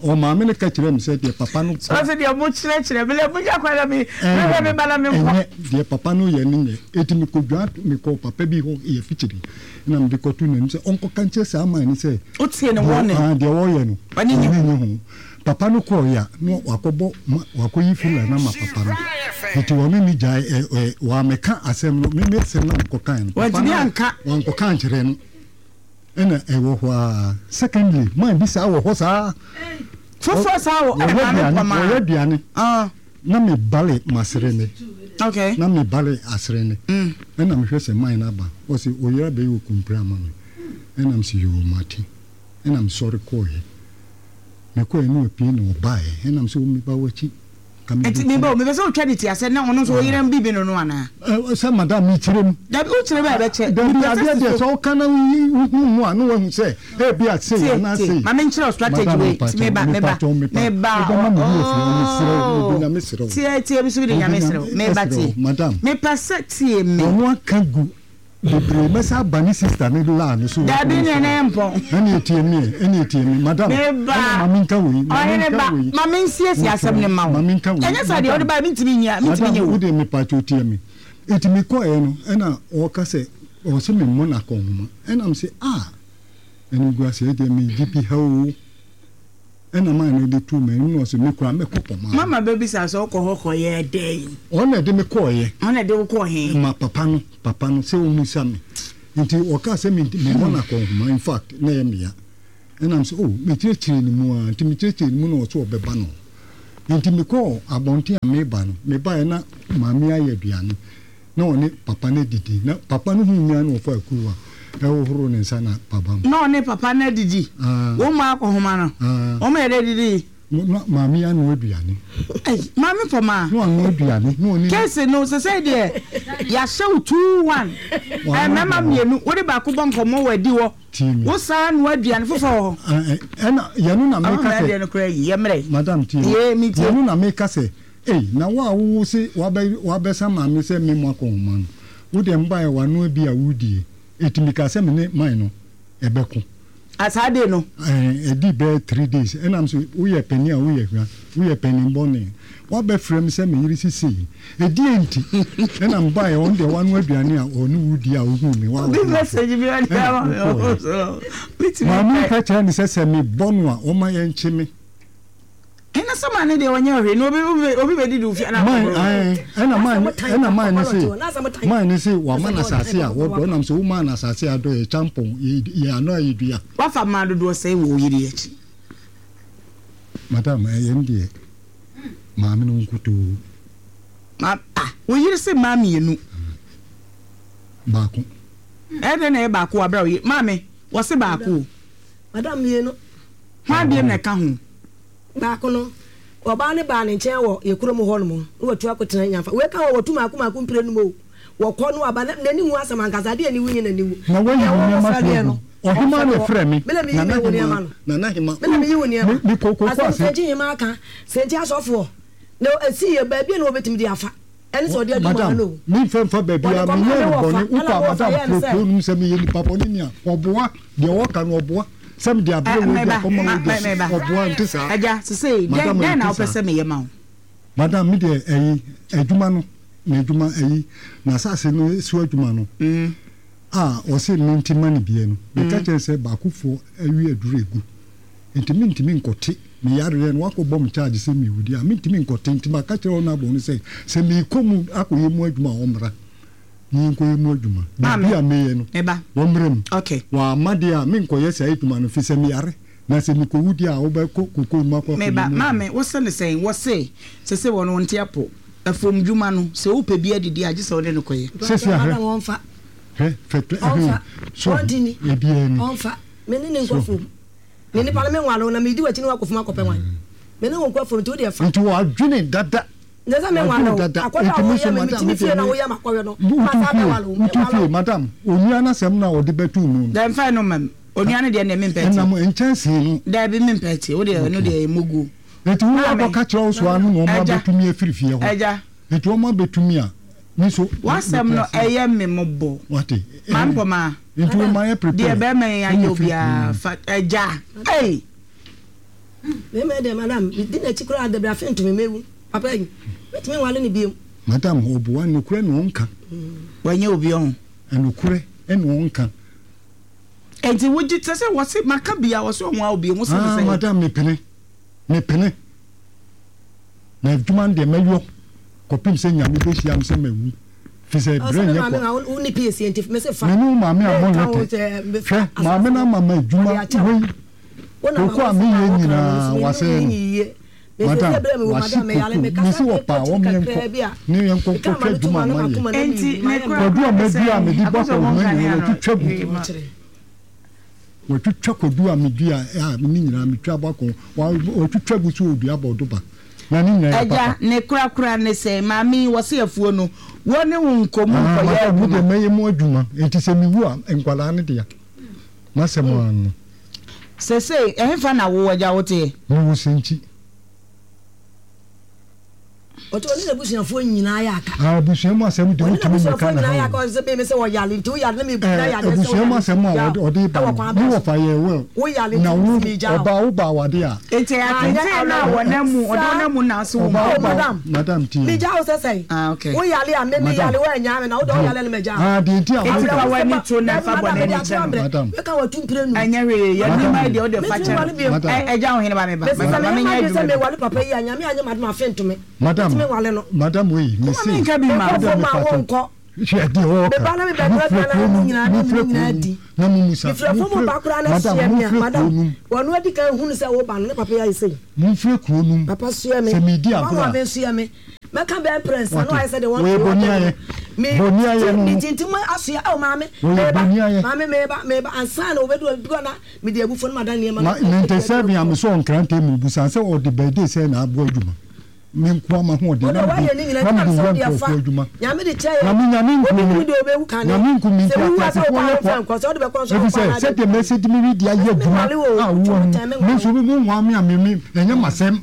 Speaker 4: ɔmaame no ka kyerɛ me sɛ deɛ papa no.
Speaker 2: Ɔse deɛ mo kyerɛkyerɛ me lɛ mo gya kwan na me mehwɛ me ba na me nkɔ.
Speaker 4: Ɛnyɛ deɛ papa no yɛ no nyɛ eti mekɔ dwa mekɔ papa bi hɔ yɛ fikyiri na mede kɔto n'anim sɛ ɔnkɔka nkyerɛ saa man no sɛ.
Speaker 2: Wotie ne wɔne.
Speaker 4: Deɛ deɛ ɔyɛ no ɔne nye ho papa no kɔɔ ya na wakɔbɔ ma wakɔyi fila no ama papa no nti ɔne ne gyae ɛ ɛ wamɛka asɛm no me me asɛm na mekɔkae no papa
Speaker 2: Wantumi
Speaker 4: no
Speaker 2: anka.
Speaker 4: wankɔka ankyerɛ no. Ɛna ɛwɔ hɔ ara. Secondly, man bi saa wɔ hɔ saa.
Speaker 2: Foforɔ saa wɔ
Speaker 4: Wɔyɛ
Speaker 2: maame
Speaker 4: aduane,
Speaker 2: pɔmaa.
Speaker 4: wɔyɛ aduane.
Speaker 2: Ah.
Speaker 4: Na me bale masere ne.
Speaker 2: Okay.
Speaker 4: Na me bale asere ne.
Speaker 2: Mm.
Speaker 4: Ɛna mehwɛ sɛ man no aba. Ɔse oyere abɛyɛ okumpire ama me. Ɛna mese yoo mate. Ɛna mesɔre kɔɔɛ. Mekɔɔɛ na wapue na ɔbaeɛ. Ɛna mese wo meba w'akyi.
Speaker 2: Nti me ba o, mepɛ sɛ wotwa ne ti asɛ na ɔno nso ɔyera bibi no no anaa?
Speaker 4: Sɛ madam mekyerɛ mu.
Speaker 2: Dabi wokyerɛ mu a ɛbɛkyɛ.
Speaker 4: Dabi adeɛ deɛ sɛ woka na wohu mu a na wahu sɛ ebi a sei anaa sei.
Speaker 2: Ma menkyerɛ wo strategy wei. Meba meba meba ooo. Tie tie mi so mi de Nyame serɛ wo. Meba tie.
Speaker 4: Madam.
Speaker 2: Mepɛ sɛ tie me.
Speaker 4: Ɔno aka gu Bebree mɛsa aba ne sister ne laa ne so.
Speaker 2: Dabi ne ne mpɔn.
Speaker 4: Ɛne etie mi ɛne etie mi madam.
Speaker 2: Meba
Speaker 4: ɛna maame nka wei.
Speaker 2: Ɔhene ba maame nsiesie asɛm ne ma wo.
Speaker 4: Maame nka wei.
Speaker 2: Ɛnyɛ saa deɛ ɔde ba mi ntumi nyia mi ntumi nyɛ
Speaker 4: wo.
Speaker 2: Madam
Speaker 4: wo de mi pa kyɛw tie mi. Eti mi kɔ yɛ no ɛna ɔka sɛ ɔsɛ mi mmɔ n'akɔnhoma ɛna mi sɛ ah ɛna gu ase ɛdeɛ mi gye bi ha o. Ɛna maa no de tuu m'anim na ɔse me koraa mɛkɔ pɔmaa.
Speaker 2: Mama bɛbisa sɛ wokɔ hɔ kɔyɛɛ dɛn?
Speaker 4: Ɔno na ɛde me kɔeɛ.
Speaker 2: Ɔno na ɛde wo kɔɔ he?
Speaker 4: Ma papa no, papa no sɛ ɔmmisa me. Nti ɔkaa sɛ me memmɔ no akɔnhoma, in fact na ɛyɛ me ya. Ɛna mese oh, mekyerɛkyerɛɛ ne mu ara, nti mekyerɛkyerɛɛ ne mu na ɔse ɔbɛba no hɔ. Nti mekɔɔ abɔnten a mereba no, mebaeɛ na maame ayɛ aduane. Na ɔne papa no adidi. Na papa no huu me ara na ɔfaa kuruwa hohoroo ne nsa na paba mu.
Speaker 2: Na ɔne papa no adidi. Wɔn mu akɔhoma no. Wɔn yɛ dɛ didi.
Speaker 4: Na maame anoa aduane.
Speaker 2: Ei, maame Pɔmaa.
Speaker 4: Na wanoa aduane. Na ɔne.
Speaker 2: Case no sesei deɛ yɛahyɛ wo two one. Mmarima mmienu, wode baako bɔ nkɔmmɔ wɔ adi hɔ.
Speaker 4: Tie me.
Speaker 2: Wo san noa aduane foforɔ wɔ
Speaker 4: hɔ. Ɛna yɛno na meka sɛ.
Speaker 2: Ɔmo adeɛ no koraa yi, yɛmmerɛ.
Speaker 4: Madam tie me.
Speaker 2: Yee, metie.
Speaker 4: Yɛno na meka sɛ. Ei, na wo a wo se wabɛ wabɛsa maame sɛ me mo akɔnhoma no, wo deɛ mbaeɛ wanoa bi a wodie, eti mekaa sɛ me ne man no ɛbɛko.
Speaker 2: Ah saa day no?
Speaker 4: Ɛɛ, ɛdii bɛyɛ three days, ɛna me se woyɛ panin a woyɛ hwa, woyɛ panin bɔne, wabɛfrɛ me sɛ me yere se sei, ɛdeɛn nti ɛna mbaeɛ, ɔno deɛ wanoa aduane a ɔne wo die a wohuu me,
Speaker 2: Obi
Speaker 4: woahohoro
Speaker 2: message bi ɔde
Speaker 4: ɛna
Speaker 2: ama me
Speaker 4: wokɔeɛ.
Speaker 2: wɔ so, metumi
Speaker 4: Maame yi
Speaker 2: kae.
Speaker 4: ka kyerɛɛ no sɛ sɛ mebɔ no a ɔmma yɛnkye me.
Speaker 2: Ɛna sɛ maame deɛ ɔnyɛ ɔhwee na obi obi bɛ didi ofie na
Speaker 4: Man ae ɛna man ɛna man ne se man ne se wama na asase a wɔdɔ ɛnam sɛ womaa na asase a dɔ yɛ kyampɔn yɛ yɛ ano a yɛ dua.
Speaker 2: Wafa mmaa dodoɔ sɛn wɔ wo yere akyi?
Speaker 4: Madam ɛyɛ n deɛ maame no nkutoo.
Speaker 2: Ma ah wo yere se mmaa mmienu.
Speaker 4: Baako.
Speaker 2: Ɛyɛ dɛn na ɛyɛ baako wɔ abira wo yere maame wɔse baako o.
Speaker 3: Madam mmienu.
Speaker 2: Hwan biem na ɛka ho?
Speaker 3: Baako no, ɔbaa no baa ne nkyɛn wɔ yɛn kurom hɔnom, na watu akɔtena Nyamfa. Wei ka ho, wɔtu mmaako mmaako mprenu mu o. Wɔkɔ na wɔaba, na n'ani nwu asɛm ankasa, adeɛ a aniwu nyɛ n'aniwu.
Speaker 4: Na wayi
Speaker 3: Deɛ
Speaker 4: wo nneɛma
Speaker 3: wɔfrɛ
Speaker 4: so
Speaker 3: deɛ
Speaker 4: agu.
Speaker 3: no,
Speaker 4: Ɔhemaa
Speaker 3: ɔmfrɛ
Speaker 4: na
Speaker 3: wɔ.
Speaker 4: ɛfrɛ me,
Speaker 3: Me na meyi
Speaker 4: Nana
Speaker 3: me wo nneɛma
Speaker 4: Hemaa,
Speaker 3: no.
Speaker 4: Nana Hemaa,
Speaker 3: Me na meyi wo nneɛma.
Speaker 4: me, mekɔ koko
Speaker 3: Asɛm
Speaker 4: ase.
Speaker 3: Sɛnkyi Hemaa ka, Sɛnkyi asɔfoɔ, na ɛsi yɛ baabi a na wɔbɛtumi de afa. Ɛne sɛ ɔde adi
Speaker 4: Madam,
Speaker 3: maa no o.
Speaker 4: memfa mfa
Speaker 3: Wɔde
Speaker 4: baabiara,
Speaker 3: kɔmaa
Speaker 4: menyɛɛ
Speaker 3: ne
Speaker 4: no
Speaker 3: wɔfa,
Speaker 4: bɔne,
Speaker 3: ɛna
Speaker 4: wokɔ a
Speaker 3: wɔfa
Speaker 4: madam
Speaker 3: yɛɛ no
Speaker 4: frɛ
Speaker 3: sɛ.
Speaker 4: kuro no mu sɛ meyɛ nipa bɔne ni a, ɔboa, deɛ ɔka no ɔboa, sɛ mede abrɛ
Speaker 2: Eh,
Speaker 4: wei de
Speaker 2: meba,
Speaker 4: akɔma
Speaker 2: ma,
Speaker 4: wei de,
Speaker 2: meba.
Speaker 4: ɔboa, nte saa?
Speaker 2: Agya, sesei, dɛn,
Speaker 4: Madam,
Speaker 2: dɛn na
Speaker 4: ɛnte
Speaker 2: wopɛ
Speaker 4: saa.
Speaker 2: sɛ meyɛ ma wo?
Speaker 4: Madam, me deɛ ɛyi, adwuma no, n'adwuma, ɛyi, n'asase no so adwuma no, a ɔse mente ma no bie no, meka kyerɛ no sɛ baakofoɔ awi aduru agu. Nti mentumi nkɔte me yareɛ no, wakɔbɔ me charge sɛ mewu deɛ a, mentumi nkɔte. Nti maka kyerɛ honourable no sɛ, sɛ merekɔ mu akɔyɛ mu adwuma a, ɔmmra na yɛnkɔyɛ mu adwuma. Biribi a meyɛ no, ɔmmra mu. Wamma deɛ a, menkɔyɛ saa adwuma no, firi sɛ meyare. Na sɛ mekɔwu deɛ a, wobɛkɔ kokoo mu akɔ akɔyɛ mu
Speaker 2: Meba,
Speaker 4: adwuma.
Speaker 2: Maame, wose no sɛn? Wɔse, sese wɔn wɔnte apɔ. Afuomdwuma no, sɛ wopɛ bi adidi a, gye sɛ wode no kɔyɛ.
Speaker 4: Sese a, hwɛ, hwɛ, fɛtɛ, ɛhɛn, so, ebiara ni.
Speaker 3: Ɔmfa, me ne no nkɔ afuom. Me nipa no me nware wo na medi w'akyi ne wakɔ fam akɔpɛ wan me ne wo nkɔ fam nti wo deɛ fa.
Speaker 4: Nti wadwene dada.
Speaker 3: Nyɛ sɛ me nware wo akɔdɔ a woyɛ me metumi fie na woyɛ makɔhwɛ no ma saa bɛ ware wo me
Speaker 4: Wotu
Speaker 3: nware
Speaker 4: fie
Speaker 3: wo.
Speaker 4: madam onua no asɛm no a ɔde bɛto mu no.
Speaker 2: Daabi mfa ɛno mma me onua no deɛ ɛndeɛ mempɛ tie.
Speaker 4: Ɛnam nkyɛnsee no.
Speaker 2: Daabi mempɛ tie wo deɛ ɛno deɛ ɛyɛ moguo.
Speaker 4: Nti wo
Speaker 2: Maame
Speaker 4: akɔka kyerɛ wo soa no na wɔn
Speaker 2: agya
Speaker 4: abɛtumi afiri fie hɔ.
Speaker 2: agya.
Speaker 4: Nti wɔn abɛtumi a me nso
Speaker 2: W'asɛm
Speaker 4: mete
Speaker 2: no
Speaker 4: aseɛ.
Speaker 2: ɛyɛ me mmɔbɔ.
Speaker 4: Wate
Speaker 2: Maame
Speaker 4: ɛɛ
Speaker 2: Pɔmaa.
Speaker 4: nti wo ma yɛ
Speaker 2: Deɛ
Speaker 4: prepare
Speaker 2: bɛrima yi
Speaker 4: ɛna
Speaker 2: ayɛ
Speaker 4: firi kuro
Speaker 2: obiara
Speaker 4: no mu.
Speaker 2: fa agya ei.
Speaker 3: Mmarima yi deɛ madam medi n'akyi koraa dabi afe ntumi mewu papa yi mɛtumi nwale no biom.
Speaker 4: Madam ɔboa nokorɛ na ɔnka.
Speaker 2: Wanyɛ obi ɔho.
Speaker 4: Nokorɛ na ɔnka.
Speaker 2: Enti wogye te sɛ wɔse maka bia wɔse ɔho a obi ho se ne
Speaker 4: Ah
Speaker 2: sɛ.
Speaker 4: madam mepene mepene na adwuma no deɛ mɛyɔ kɔpem sɛ Nyame bɛhyia me sɛ mawu. Fisɛ
Speaker 3: Ɔsɛ
Speaker 4: berɛ
Speaker 3: me
Speaker 4: nyɛ
Speaker 3: maame
Speaker 4: kwa.
Speaker 3: ma wo ne pie nti mese fa.
Speaker 4: Me ne wo maame ammɔ
Speaker 3: Menka wo
Speaker 4: lɛtɛ.
Speaker 3: sɛ mefa
Speaker 4: Hwɛ,
Speaker 3: asase
Speaker 4: maame no
Speaker 3: no
Speaker 4: ama me
Speaker 3: ɔde
Speaker 4: adwuma
Speaker 3: akyɛ wo.
Speaker 4: wei,
Speaker 3: Wo na ma
Speaker 4: koko a
Speaker 3: wo
Speaker 4: meyɛ
Speaker 3: sɛ ma wɔka no
Speaker 4: nyinaa
Speaker 3: nso me
Speaker 4: wasɛe
Speaker 3: ne
Speaker 4: no.
Speaker 3: yiye. Mese
Speaker 4: Madam,
Speaker 3: sɛ berɛ me wɔ
Speaker 4: wahye
Speaker 3: madam meyare
Speaker 4: koko.
Speaker 3: mekasa
Speaker 4: Mese wɔpa a
Speaker 3: mekɔ
Speaker 4: wɔmmyɛ
Speaker 3: kyiri
Speaker 4: nkɔ
Speaker 3: kakraa bi a
Speaker 4: ne yɛnkɔ
Speaker 3: meka
Speaker 4: nkɔhwɛ
Speaker 3: ma no to
Speaker 4: adwuma
Speaker 3: ma
Speaker 4: a
Speaker 3: no
Speaker 4: mayɛ.
Speaker 3: makoma na
Speaker 2: Enti
Speaker 3: mewu
Speaker 2: ne
Speaker 3: mayɛ
Speaker 2: kora
Speaker 3: mmerɛ.
Speaker 4: Kwadu
Speaker 2: kora
Speaker 4: a
Speaker 2: ne
Speaker 4: madua a
Speaker 2: sɛn
Speaker 4: mede bɔ
Speaker 2: akɔsɛ
Speaker 4: akɔnhoma
Speaker 2: wɔn
Speaker 4: nyinaa
Speaker 2: kanea no
Speaker 4: watwitwa gu.
Speaker 2: ee ma.
Speaker 4: Watwitwa kwadu a medua a ne nyinaa metwa bɔ akɔn watwitwa gu so ɔdua bɔɔdo ba. Na ne nyinaa yɛ
Speaker 2: Agya,
Speaker 4: papa.
Speaker 2: ne korakora ne sɛ, Maame yi, wɔse afuo no, wo ne wo nkɔ mu
Speaker 4: Ah,
Speaker 2: nkɔyɛ
Speaker 4: madam, me deɛ
Speaker 2: adwuma.
Speaker 4: mɛyɛ mu adwuma, enti sɛ mewu a, nkwadaa no dea. M'asɛm ara no.
Speaker 2: Seesei, ɛhefa na wo, agya, woteɛ?
Speaker 4: Mewɔ Sɛnkyi.
Speaker 3: Ɔtɔ ɔne n'abusuafoɔ nyinaa yɛ aka.
Speaker 4: Ah, abusua mu asɛm deɛ
Speaker 3: Ɔne
Speaker 4: wotumi mmɛka
Speaker 3: n'abusuafoɔ
Speaker 4: na
Speaker 3: nyinaa yɛ
Speaker 4: ha
Speaker 3: aka
Speaker 4: o.
Speaker 3: ɔsɛ sɛ me sɛ wɔyale nti woyale na mebua
Speaker 4: Eh,
Speaker 3: yadeɛ sɛ
Speaker 4: abusua mu asɛm a
Speaker 3: woyale
Speaker 4: ɔde ɔde ba
Speaker 3: ɛwɔ
Speaker 4: no
Speaker 3: kwan
Speaker 4: ne
Speaker 3: bɛn so
Speaker 4: wɔfa yɛ well
Speaker 3: woyale
Speaker 4: na
Speaker 3: nti
Speaker 4: wo
Speaker 3: megya wo
Speaker 4: ɔbaa wo ba awade a
Speaker 2: Enti
Speaker 3: anyɛ
Speaker 2: atete na
Speaker 3: awerɛhoɔ
Speaker 2: wɔnam mu ɔde
Speaker 3: saa
Speaker 2: wɔnam mu na so wo
Speaker 4: ɔbaa
Speaker 2: ma.
Speaker 4: wo
Speaker 3: oh
Speaker 4: ba
Speaker 3: madam
Speaker 4: madam tie
Speaker 3: megya wo sɛ sɛn
Speaker 2: Ah, okay.
Speaker 3: woyale a me
Speaker 4: madam
Speaker 3: meyale woanyaa me na wode
Speaker 4: deɛ
Speaker 3: woyale no magya wo
Speaker 4: ah deɛ nti a
Speaker 2: Enti
Speaker 4: wo
Speaker 2: fa
Speaker 3: awerɛhosɛm
Speaker 2: w'ani
Speaker 3: a
Speaker 2: to na
Speaker 3: dabi
Speaker 2: fa
Speaker 3: madam
Speaker 2: bɔne
Speaker 3: mede
Speaker 2: ani
Speaker 3: ato
Speaker 2: kyɛ no.
Speaker 3: abrɛ
Speaker 4: madam
Speaker 3: meka watu mpire num
Speaker 2: Ɛnyɛ hwee yɛnim
Speaker 4: madam
Speaker 2: ayɛ deɛ wode fa
Speaker 3: mentumi
Speaker 2: kyɛ
Speaker 3: nwale
Speaker 2: no.
Speaker 3: bio
Speaker 4: madam
Speaker 2: Ɛ- Ɛgya wo hene ba me ba.
Speaker 3: mese
Speaker 2: Ma
Speaker 3: sɛ
Speaker 2: ma
Speaker 3: meyɛ
Speaker 2: menyɛ
Speaker 3: m'adwene sɛ
Speaker 2: adwuma bi.
Speaker 3: mewale papa yi a Nyame anyɛ m'adom afe ntome
Speaker 4: madam
Speaker 3: mentumi nwale no
Speaker 4: madam wei
Speaker 2: Woma
Speaker 4: mese
Speaker 2: menka bi ma wo.
Speaker 4: madam
Speaker 3: mekɔfo ma
Speaker 4: mepakyɛw
Speaker 3: wonkɔ
Speaker 4: hwɛ deɛ wɔɔka
Speaker 3: meba na mebɛdora
Speaker 4: mofrɛ
Speaker 3: aduane
Speaker 4: kuro
Speaker 3: a
Speaker 4: no
Speaker 3: mu nyinaa ne
Speaker 4: mofrɛ
Speaker 3: mu
Speaker 4: kuro
Speaker 3: nyinaa
Speaker 4: no
Speaker 3: di
Speaker 4: na mumusa
Speaker 3: mefrɛ fo mu
Speaker 4: mofrɛ
Speaker 3: ba koraa na
Speaker 4: madam
Speaker 3: soɛ me a
Speaker 4: mofrɛ kuro
Speaker 3: madam
Speaker 4: no
Speaker 3: wɔno adi kan hunu sɛ woba no ne papa yi ayɛ sei
Speaker 4: mofrɛ kuro no
Speaker 3: papa soɛ me
Speaker 4: sɛ medi
Speaker 3: papa
Speaker 4: agorɔ
Speaker 3: ma
Speaker 4: a
Speaker 3: me soɛ me mɛka bɛɛ mprɛnsa na
Speaker 4: wate
Speaker 3: wayɛ sɛ de wɔn
Speaker 4: wɔyɛ
Speaker 3: wɔn
Speaker 4: bɔne
Speaker 3: dɛm
Speaker 4: ayɛ
Speaker 3: no me
Speaker 4: bɔne ayɛ no
Speaker 3: metintim asoɛ ɛwɔ maame
Speaker 4: wɔyɛ
Speaker 3: meba
Speaker 4: bɔne ayɛ
Speaker 3: maame meba meba ansa na wɔbɛdu obi na mede abufuo no mada nneɛma no
Speaker 4: ma ninety seven a mesɔ nkrantɛ mu busa sɛ ɔde bɛɛde sɛ na aboa adwuma me nko ama ho ɔde
Speaker 3: wode
Speaker 4: na
Speaker 3: wayɛ
Speaker 4: mede
Speaker 3: ne nyina
Speaker 4: na
Speaker 3: nti na
Speaker 4: mede
Speaker 3: sɛ
Speaker 4: wura
Speaker 3: wode afa
Speaker 4: nkurɔfoɔ adwuma
Speaker 3: Nyame de kyɛ
Speaker 4: na
Speaker 3: yɛ
Speaker 4: me nyame nku
Speaker 3: obi
Speaker 4: me
Speaker 3: nim deɛ ɔbɛwu kane
Speaker 4: nyame nku me
Speaker 3: sɛ
Speaker 4: nti
Speaker 3: wowu a sɛ
Speaker 4: ateasefoɔ
Speaker 3: wokɔ
Speaker 4: yɛ
Speaker 3: a
Speaker 4: kwa
Speaker 3: womfa nkɔ sɛ wode bɛkɔ nso
Speaker 4: ɛfiri
Speaker 3: wokɔ
Speaker 4: sɛ
Speaker 3: anaa
Speaker 4: sɛdeɛ mɛsɛ de me redi ayɛ adwuma
Speaker 3: menwale wo
Speaker 4: a wowɔ
Speaker 3: twɛ
Speaker 4: no
Speaker 3: tɛn
Speaker 4: me
Speaker 3: menwale
Speaker 4: nso
Speaker 3: wo
Speaker 4: mo nwa me a me me ɛnyɛ m'asɛm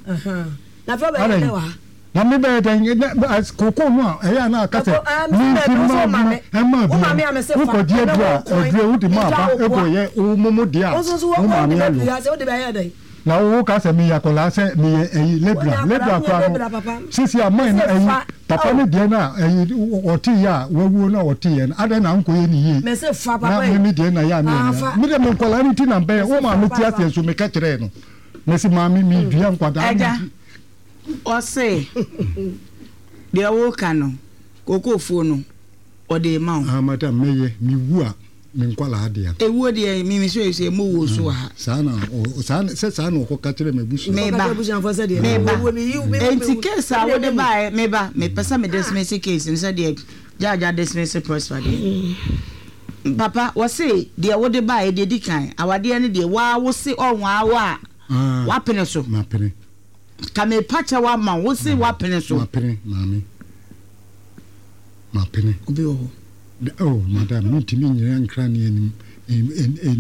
Speaker 3: na fɛ bɛyɛ
Speaker 4: adɛn
Speaker 3: dɛ wɔ ha
Speaker 4: na me bɛyɛ dɛn ɛnɛ as koko no a ɛyɛ a na aka sɛ
Speaker 3: ɛkɔ ɛɛ mesi
Speaker 4: memfi
Speaker 3: baabi wo
Speaker 4: ma
Speaker 3: sɛ wo
Speaker 4: adwuma
Speaker 3: maame
Speaker 4: ɛma
Speaker 3: wo
Speaker 4: adwuma
Speaker 3: maame
Speaker 4: no
Speaker 3: a mese fa
Speaker 4: wokɔgye
Speaker 3: ɛnɛ
Speaker 4: aduro
Speaker 3: wo
Speaker 4: a
Speaker 3: kɔn
Speaker 4: aduro wode ma
Speaker 3: megya
Speaker 4: aba
Speaker 3: wo
Speaker 4: ɛkɔ
Speaker 3: koa
Speaker 4: yɛ wo momo deɛ a
Speaker 3: wo nso so
Speaker 4: wo
Speaker 3: wo wode
Speaker 4: maame
Speaker 3: bɛpiri
Speaker 4: ayɔ
Speaker 3: ha sɛ wode bɛyɛ dɛn
Speaker 4: na wo ka sɛ meyɛ akwadaa sɛ meyɛ ɛyi
Speaker 3: wonyɛ
Speaker 4: lebra
Speaker 3: akwadaa
Speaker 4: lebra
Speaker 3: wonyɛ
Speaker 4: koraa no
Speaker 3: lebra papa
Speaker 4: sisi a man no
Speaker 3: mese
Speaker 4: ɛyi
Speaker 3: fa
Speaker 4: papa
Speaker 3: oh
Speaker 4: no deɛ no a ɛyi ɔte yɛ a wawuo no a ɔte yɛ no adɛn na nkɔyɛ ne yie
Speaker 3: mese fa
Speaker 4: na
Speaker 3: papa yi
Speaker 4: meme deɛ na yɛ a
Speaker 3: ah
Speaker 4: meyɛ
Speaker 3: fa
Speaker 4: me deɛ me nkwadaa no ti na mbɛyɛ
Speaker 3: mese
Speaker 4: wo
Speaker 3: fa
Speaker 4: maame te
Speaker 3: papa
Speaker 4: aseɛ nso meka kyerɛɛ no mesi maame medua nkwadaa no
Speaker 2: Ɛgya
Speaker 4: nti
Speaker 2: ɔse deɛ woka no kokofuo no ɔde ma wo.
Speaker 4: Ah madam mɛyɛ mewu a me nkwadaa deɛ
Speaker 2: Ewuo deɛ mimi so esi emu wuo so wɔ ha.
Speaker 4: Saa na ɔ- saa na- sɛ saa na ɔkɔka kyerɛ m'abusua
Speaker 3: kɔka
Speaker 2: Meba
Speaker 3: kyerɛ abusuafoɔ sɛ deɛ
Speaker 2: meba
Speaker 3: owuo meyi wo mewu
Speaker 2: enti
Speaker 3: mewu
Speaker 2: case a
Speaker 3: ɛdeɛ
Speaker 2: wode
Speaker 3: mewu
Speaker 2: baeɛ meba mepɛ sɛ me dismiss case no sɛdeɛ judge dismiss Prosper deɛ. Papa wɔse deɛ wode baeɛ deɛ di kan awadeɛ no deɛ waa wo se ɔnwaa wo a
Speaker 4: Ah,
Speaker 2: wapene so
Speaker 4: mapene
Speaker 2: ka mepa kyɛ wo ama wo se wapene so.
Speaker 4: Mapene maame mapene.
Speaker 2: Obi wɔ hɔ.
Speaker 4: Da- oh madam mentumi nyina nkra ne anim anim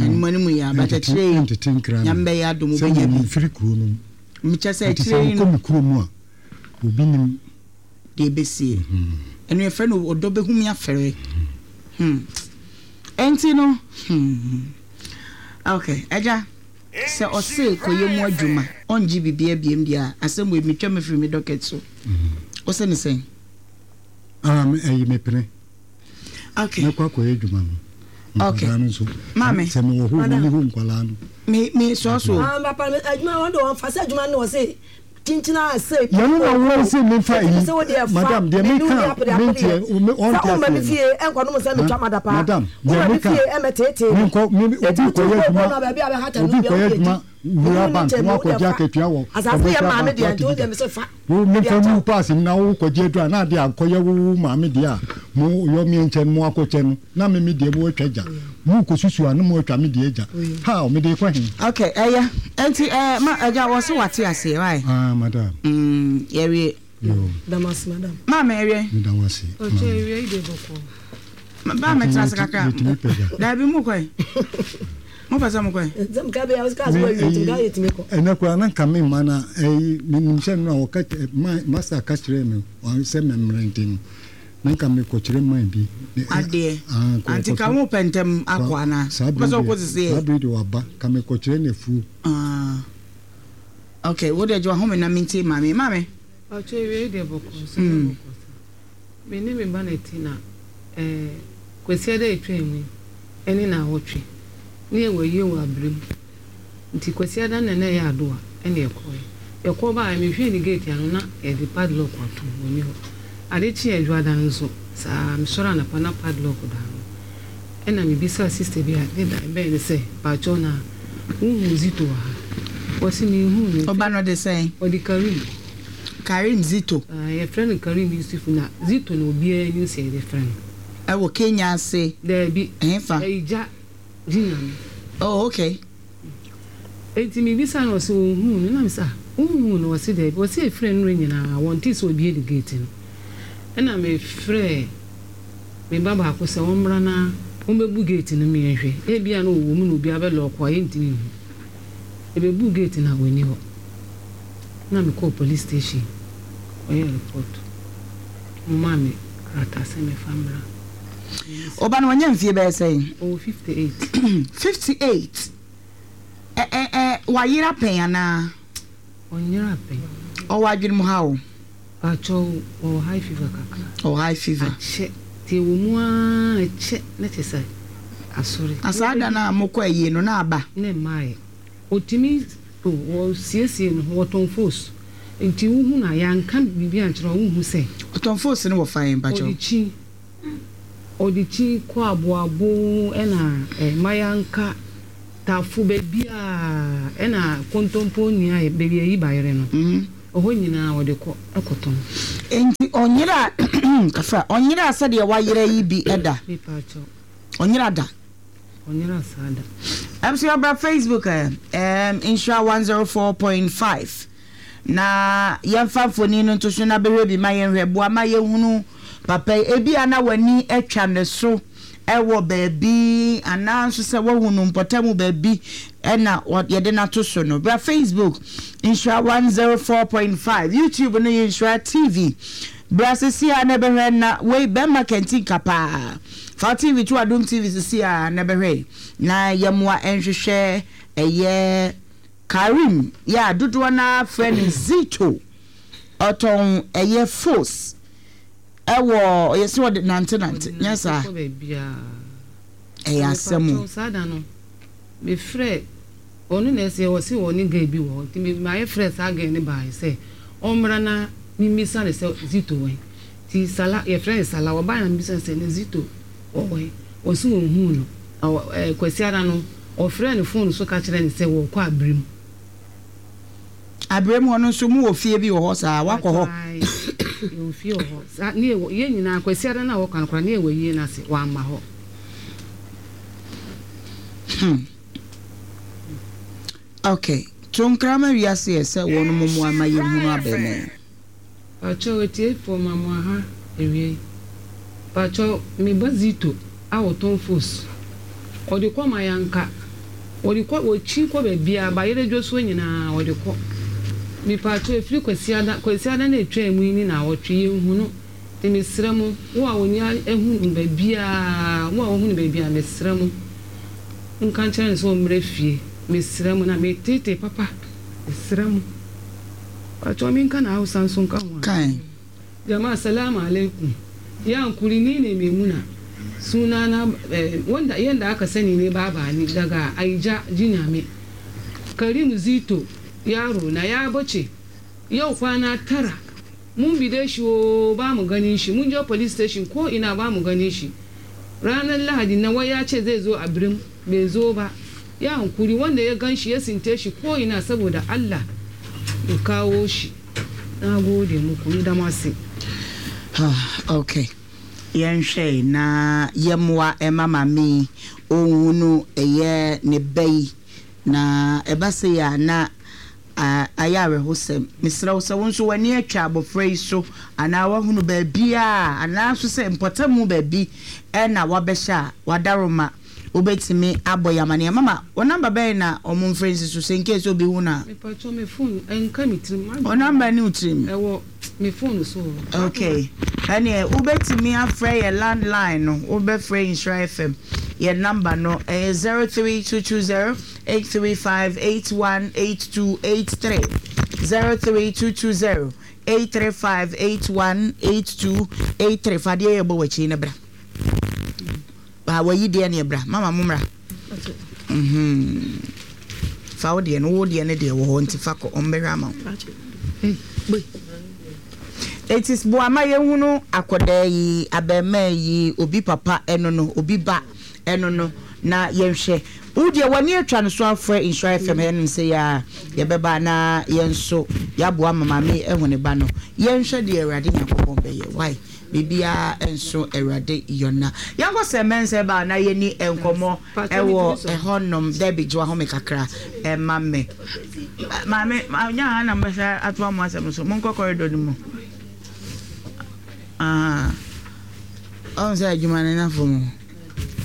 Speaker 2: anim anim yɛ abakyɛkyerɛ yi
Speaker 4: ntete nkra
Speaker 2: Nyame bɛyɛ adom
Speaker 4: sɛ
Speaker 2: wobɛnya bi.
Speaker 4: memfiri kuro no mu
Speaker 2: mekyɛ sɛ
Speaker 4: nti sɛ
Speaker 2: akyerɛ yi
Speaker 4: wokɔ
Speaker 2: no
Speaker 4: me kuro mu a obi nim.
Speaker 2: Deɛ ɛbɛsie ɛno yɛfrɛ no ɔdɔ bɛhu me afɛre. Hmm. Ɛnti no hmm. Ok, agya sɛ ɔse kɔyɛ mu adwuma ɔngye biribia biem deɛ a asɛm wei metwa me firi me docket so wo sɛ ne sɛn?
Speaker 4: Ah, me- ɛyi mepene.
Speaker 2: Ok.
Speaker 4: Mɛkɔ akɔyɛ adwuma no
Speaker 2: Ok.
Speaker 4: nkwadaa no nso
Speaker 2: Maame.
Speaker 4: sɛ mewɔ hɔ
Speaker 3: Madam.
Speaker 4: mene hɔ nkwadaa no.
Speaker 2: Me me sɔɔ so.
Speaker 3: Ah papa me adwuma wɔn de wɔn fa sɛ adwuma no wɔ se kyinkyin a se
Speaker 4: yɛno na wɔn se memfa
Speaker 3: Ɛti sɛ wo deɛ
Speaker 4: yi
Speaker 3: fa
Speaker 4: madam deɛ
Speaker 3: me ne wo
Speaker 4: meka
Speaker 3: ni apere apereɛ.
Speaker 4: menteɛ me- ɔnte
Speaker 3: Sɛ woma me
Speaker 4: aseɛ
Speaker 3: fie ɛnkɔ nom sɛ metwa mada paa
Speaker 4: madam deɛ
Speaker 3: woma me
Speaker 4: meka
Speaker 3: fie ɛmɛteetee me
Speaker 4: menkɔ me obi
Speaker 3: Eti wotu
Speaker 4: kɔyɛ
Speaker 3: kɔ
Speaker 4: adwuma
Speaker 3: na baabi a bɛhata no
Speaker 4: obi
Speaker 3: bia
Speaker 4: kɔyɛ
Speaker 3: wode
Speaker 4: adwuma
Speaker 3: adi.
Speaker 4: wura
Speaker 3: Wo
Speaker 4: bank
Speaker 3: ne
Speaker 4: na
Speaker 3: wo
Speaker 4: wakɔgye
Speaker 3: deɛ fa.
Speaker 4: akatua wɔ
Speaker 3: Asase yɛ
Speaker 4: commercial
Speaker 3: maame
Speaker 4: bank
Speaker 3: deɛ nti wo
Speaker 4: wate
Speaker 3: deɛ mesɛ fa
Speaker 4: wo
Speaker 3: Wode
Speaker 4: memfa
Speaker 3: akyɛ
Speaker 4: mu
Speaker 3: wo.
Speaker 4: paase mu na wokɔgye aduru a na ade akɔyɛ wo wo maame deɛ a mo yɔ me nkyɛn mo akɔkyɛ no na me me deɛ mo atwa gya mo kɔsusu a na mo atwa me deɛ gya ha mede kɔ he?
Speaker 2: Ok, ɛyɛ ɛnti ɛɛ ma agya wɔ se wate aseɛ wae.
Speaker 4: Ah madam.
Speaker 2: Mm, yɛwie.
Speaker 4: Yo.
Speaker 3: Damas madam.
Speaker 2: Maame ɛwie.
Speaker 4: Meda wo ase.
Speaker 6: Ɔkyɛ ewia yi de bɔkɔ.
Speaker 2: Ba mɛtena ase kakra.
Speaker 4: Yɛtumi pagya.
Speaker 2: Daabi mu kɔe mo pɛ sɛ mo kɔe.
Speaker 3: Sɛ meka bɛyɛ wo sɛ kaa sɛ wawie nti meka yɛtumi kɔ.
Speaker 4: Ɛnɛ koraa na nka me ma na ɛyi menim sɛ no a wɔka kyerɛ- ma- master ka kyerɛ me ɔ- sɛ memmerɛ nti no na nka mekɔkyerɛ man bi Ne- ɛ-
Speaker 2: Adeɛ
Speaker 4: ah, kɔ-
Speaker 2: anti ka
Speaker 4: kɔtɔ-
Speaker 2: mo pɛ ntɛm akɔ anaa
Speaker 4: saa
Speaker 2: wopɛ sɛ
Speaker 4: bere
Speaker 2: wokɔ
Speaker 4: deɛ-
Speaker 2: sisi
Speaker 4: saa
Speaker 2: yɛ
Speaker 4: bere de waba ka mekɔkyerɛ no afuo.
Speaker 2: Ah. Ok, wo de gye wahome na mentie maame maame.
Speaker 6: Ɔkyɛ ewia yi de bɔkɔ so
Speaker 2: Mm.
Speaker 6: bɔkɔ sa. Me ne me ba na ti na ɛɛ Kwasiada etwa mu yi ɛne na awɔtwe ne yɛ wɔ yie wɔ abirem nti Kwasiada na na ɛyɛ adoa ɛna ɛkɔɛ yɛkɔ baa mehwɛ ne gate ano na yɛde padlock ato wɔ ni hɔ. Ade kye adwoada no nso saa mesɔre anapa na padlock da ano ɛna mebisa sister bi a ne da bɛn ne sɛ paakyɛw na wohu Zito wɔ ha wɔsi mehu no.
Speaker 2: Ɔba no de sɛn?
Speaker 6: Ɔde Karim.
Speaker 2: Karim Zito.
Speaker 6: Ah, yɛfrɛ no Karim Yusuf na Zito na obiara anim sɛ yɛde frɛ no.
Speaker 2: Ɛwɔ Kenya ase?
Speaker 6: Daabi.
Speaker 2: Ɛhefa?
Speaker 6: Ɛyigya gyinyame.
Speaker 2: Oh, okay.
Speaker 6: Enti mebisa no ɔsɛ ɔnhuu no nam sɛ ah wonhuu no ɔse daabi ɔse ɛfrɛ no nyinaa wɔnte sɛ obie ne gate no ɛna mefrɛ me ba baako sɛ wɔmmra na wɔmmɛbu gate no mmiɛnhwɛ ebia na ɔwɔ mu na obi abɛlock a yɛntumi nhu ɛbɛbu gate no a wɔnni hɔ na mekɔɔ police station. Ɔyɛ report. Ɔmaa me krataa sɛ mefa mmra.
Speaker 2: Ɔba no wanya mfie bɛyɛ sɛn?
Speaker 6: Ɔwɔ fifty eight.
Speaker 2: Fifty eight. Ɛ ɛ ɛ wayera pɛn anaa?
Speaker 6: Ɔnyera pɛn.
Speaker 2: Ɔwɔ adwene mu haw?
Speaker 6: Pakyɛw, ɔwɔ high fever kakra.
Speaker 2: Ɔwɔ high fever.
Speaker 6: Akyɛ, nti ɛwɔ mu ara ɛkyɛ na kyerɛ sɛ asɔre.
Speaker 2: Na saa da no a mokɔ ayie no na aba?
Speaker 6: Na ɛmmaeɛ. Ɔtumi o, ɔsiesie ne ho, ɔtɔn fos. Nti wohu no a, yɛanka biribi ankyerɛ wo a, wonhu sɛ.
Speaker 2: Ɔtɔn fos no wɔ fa he mpakyɛw?
Speaker 6: Ɔde kyi, ɔde kyi kɔ aboabo ɛna eh, Mayanka, Tafo, baabiaa ɛna Kontompo nua baabi a yɛyi bayerɛ no, ɛhɔ nyinaa ɔde kɔ kɔtɔn.
Speaker 2: Enti ɔnyeraa, kafra, ɔnyeraa sɛdeɛ wayera yi bi da?
Speaker 6: Mepaakyɛw.
Speaker 2: Ɔnyera da?
Speaker 6: Ɔnyera saa da.
Speaker 2: Abusua bra Facebook ɛ ɛɛm Nhyira one zero four point five na yɛmfa mfoni no nto so na bɛhwɛ bi ma yɛnhwɛ. Boa ma yɛnhunu papa yi. Ebia na w'ani atwa ne so wɔ baabi anaa nso sɛ woahu no mpɔtam baabi na yɛde no ato so no. Bra Facebook Nhyira one zero four point five, YouTube no yɛ Nhyira T V. Bra sisi a na bɛhwɛ na wei bɛma kɛntinka paa. Fa wo T V to Adom T V sisi a na bɛhwɛ na yɛmmoa nhwehwɛ ɛyɛ Karim yɛ a dodoɔ no ara frɛ no Zito. Ɔtɔn ɛyɛ fos ɛwɔ yɛsɛ ɔde nante nante nyɛ saa. Ɛyɛ asɛm o.
Speaker 6: Saa da no mefrɛ ɔno na ɛsɛ ɔse ɔne girl bi wɔ hɔ nti mayɛ frɛ saa girl no baeɛ sɛ ɔmmra na memmisa no sɛ Zito wɔ he nti Sala yɛfrɛ no Sala ɔbaeɛ na mebisa no sɛ na Zito wɔ he ɔse ɔnhuu no na ɛɛ Kwasiada no ɔfrɛɛ no phone so ka kyerɛɛ no sɛ wɔrekɔ Abirim.
Speaker 2: Abirim hɔ no nso mowɔ fie bi wɔ hɔ saa wakɔ hɔ?
Speaker 6: Ae yɛwɔ fie wɔ hɔ saa ne yɛwɔ yɛn nyinaa Kwasiada no a wɔka no koraa ne yɛwɔ ayie no ase wamma hɔ.
Speaker 2: Hmm. Ok, to nkra ma wiase ɛ sɛ wɔnom mmoa ma yɛnhunu abɛɛmaa yi.
Speaker 6: Pakyɛw atiefoɔ ma mo aha awiei pakyɛw me ba Zito a ɔtɔn fos ɔde kɔ mayanka ɔde kɔ ɔkyi kɔ baabiaa bayerɛ dwosoɔ nyinaa ɔde kɔ me pakyɛw ɛfiri kwasiada kwasiada no a ɛtwaa mu yi ne naawɔtwe yɛnhu no nti mesrɛ mo wo a ɔni ahu no baabiaa wo a wahu no baabiaa mesrɛ mo nka nkyerɛ no sɛ ɔmmrɛ fie mesrɛ mo na meteetee papa mesrɛ mo pakyɛw menka na Hausa nso nka ho a.
Speaker 2: Kan.
Speaker 6: Jama'a salamu alaikum ya hankuri ni ne Maimuna sunana eh, wanda yanda aka sani ne baba ni daga Aija Jinyame Karim Zito yaro na ya bace yau kwana tara mun bide shi o ba mu ganin shi mun je police station ko ina ba mu ganin shi ranar Lahadi na wai ya ce zai zo a birim bai zo ba ya hankuri wanda ya gan shi ya sinte shi ko ina saboda Allah ya kawo shi na gode muku ni da masu.
Speaker 2: Okay, yɛnhwɛ na yɛmmoa ɛma maame ɔnhunu ɛyɛ ne ba yi na ɛba sɛ yɛ a na ayɛ awerɛhosɛm. Mesrɛ wo sɛ wo nso w'ani atwa abɔfra yi so anaa woahunu baabi a anaa nso sɛ mpɔtamu baabi ɛna wabɛhyɛ a wadaroma wobɛtumi abɔ yɛ amanneɛ. Mama, wo number bɛn na ɔmo mfrɛ nsi so sɛ in case obi hu no a?
Speaker 6: Mepatwɔ me phone ɛnka me tirim.
Speaker 2: Wo number ne wo tirim?
Speaker 6: Ɛwɔ me phone so.
Speaker 2: Okay, ɛneɛ wobɛtumi afrɛ yɛ landline no, wobɛfrɛ Nhyira F M yɛ number no ɛyɛ zero three two two zero eight three five eight one eight two eight three zero three two two zero eight three five eight one eight two eight three. Fa adeɛ yɛ bɔ w'akyi ne bra. Ba wayi deɛ ne bra. Mama mo mmra. Mhm. Fa wo deɛ no, wo deɛ ne deɛ wɔ hɔ nti fa kɔ ɔmbɛhwɛ ama wo. It is boama yɛhunu akɔdaa yi, abɛɛmaa yi, obi papa ɛno no, obi ba ɛno no, na yɛnhwɛ. Wo deɛ w'ani atwa no so afrɛ Nhyira F M ɛnom sɛ yɛ a yɛbɛba na yɛn nso yɛaboa ma maame ɛho ne ba no. Yɛnhwɛ deɛ Awurade Nyankopɔn bɛyɛ. Why? Biribiara nso Awurade yɔna. Yɛnkɔ sɛ mɛnsɛ ba na yɛni nkɔmmɔ ɛwɔ ɛhɔnom. Debbie gye wahome kakra ɛma me. Maame, nya ha na mbɛsɛ atoa mo asɛm so. Monkɔ corridor no mu. Ah. Ɔn sɛ adwuma no nafo mu.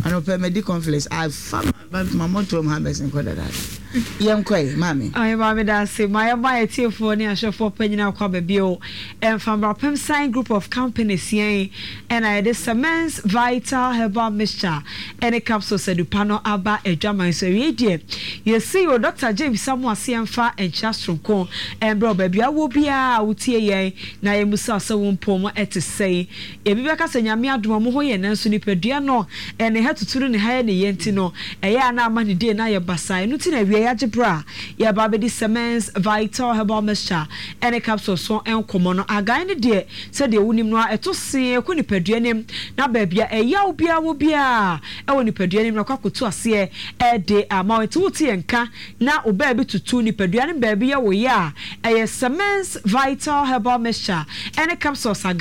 Speaker 2: Anɔpɛ medi conflicts. Afa ma ma mɔtoam ha bɛsen kɔ dadaada. Yɛnkɔe, maame.
Speaker 7: Ɔyɛ maame da ase. Ma yɛma yɛtiefoɔ ne ahwɛfoɔ pa nyinaa kɔ aba bio. Mfambrapem Sign Group of Companies yɛn ɛna yɛde Cements Vital Herbal Mixture ɛne capsules adupa no aba adwaman so. Awie deɛ, yɛsi o Doctor James Samu ase yɛmfa nkyia soronko ɛmbrɛ wɔ baabi a wɔ biara a wotie yɛn na yɛmusa sɛ wo mpom ɛte sɛn. Ebi bɛka sɛ Nyame adom ɔmo ho yɛ, nanso nipadua no ɛne ha tutu no ne ha yɛ ne yɛ nti no ɛyɛ a na ama ne die na ayɛ basaa. Ɛno nti na awie yɛagye berɛ a yɛba abɛdi Cements Vital Herbal Mixture ɛne capsules so nkɔmmɔ no. Agan no deɛ, sɛdeɛ wonim no a, ɛto see kɔ nipadua nim na baabi a ɛyaw biara wɔ biara ɛwɔ nipadua nim na kɔ akɔtu aseɛ ɛde ama wo. Nti wote yɛn nka na wo baabi tutu, nipadua no baabi yɛ wo yɛ a, ɛyɛ Cements Vital Herbal Mixture ɛne capsules agan.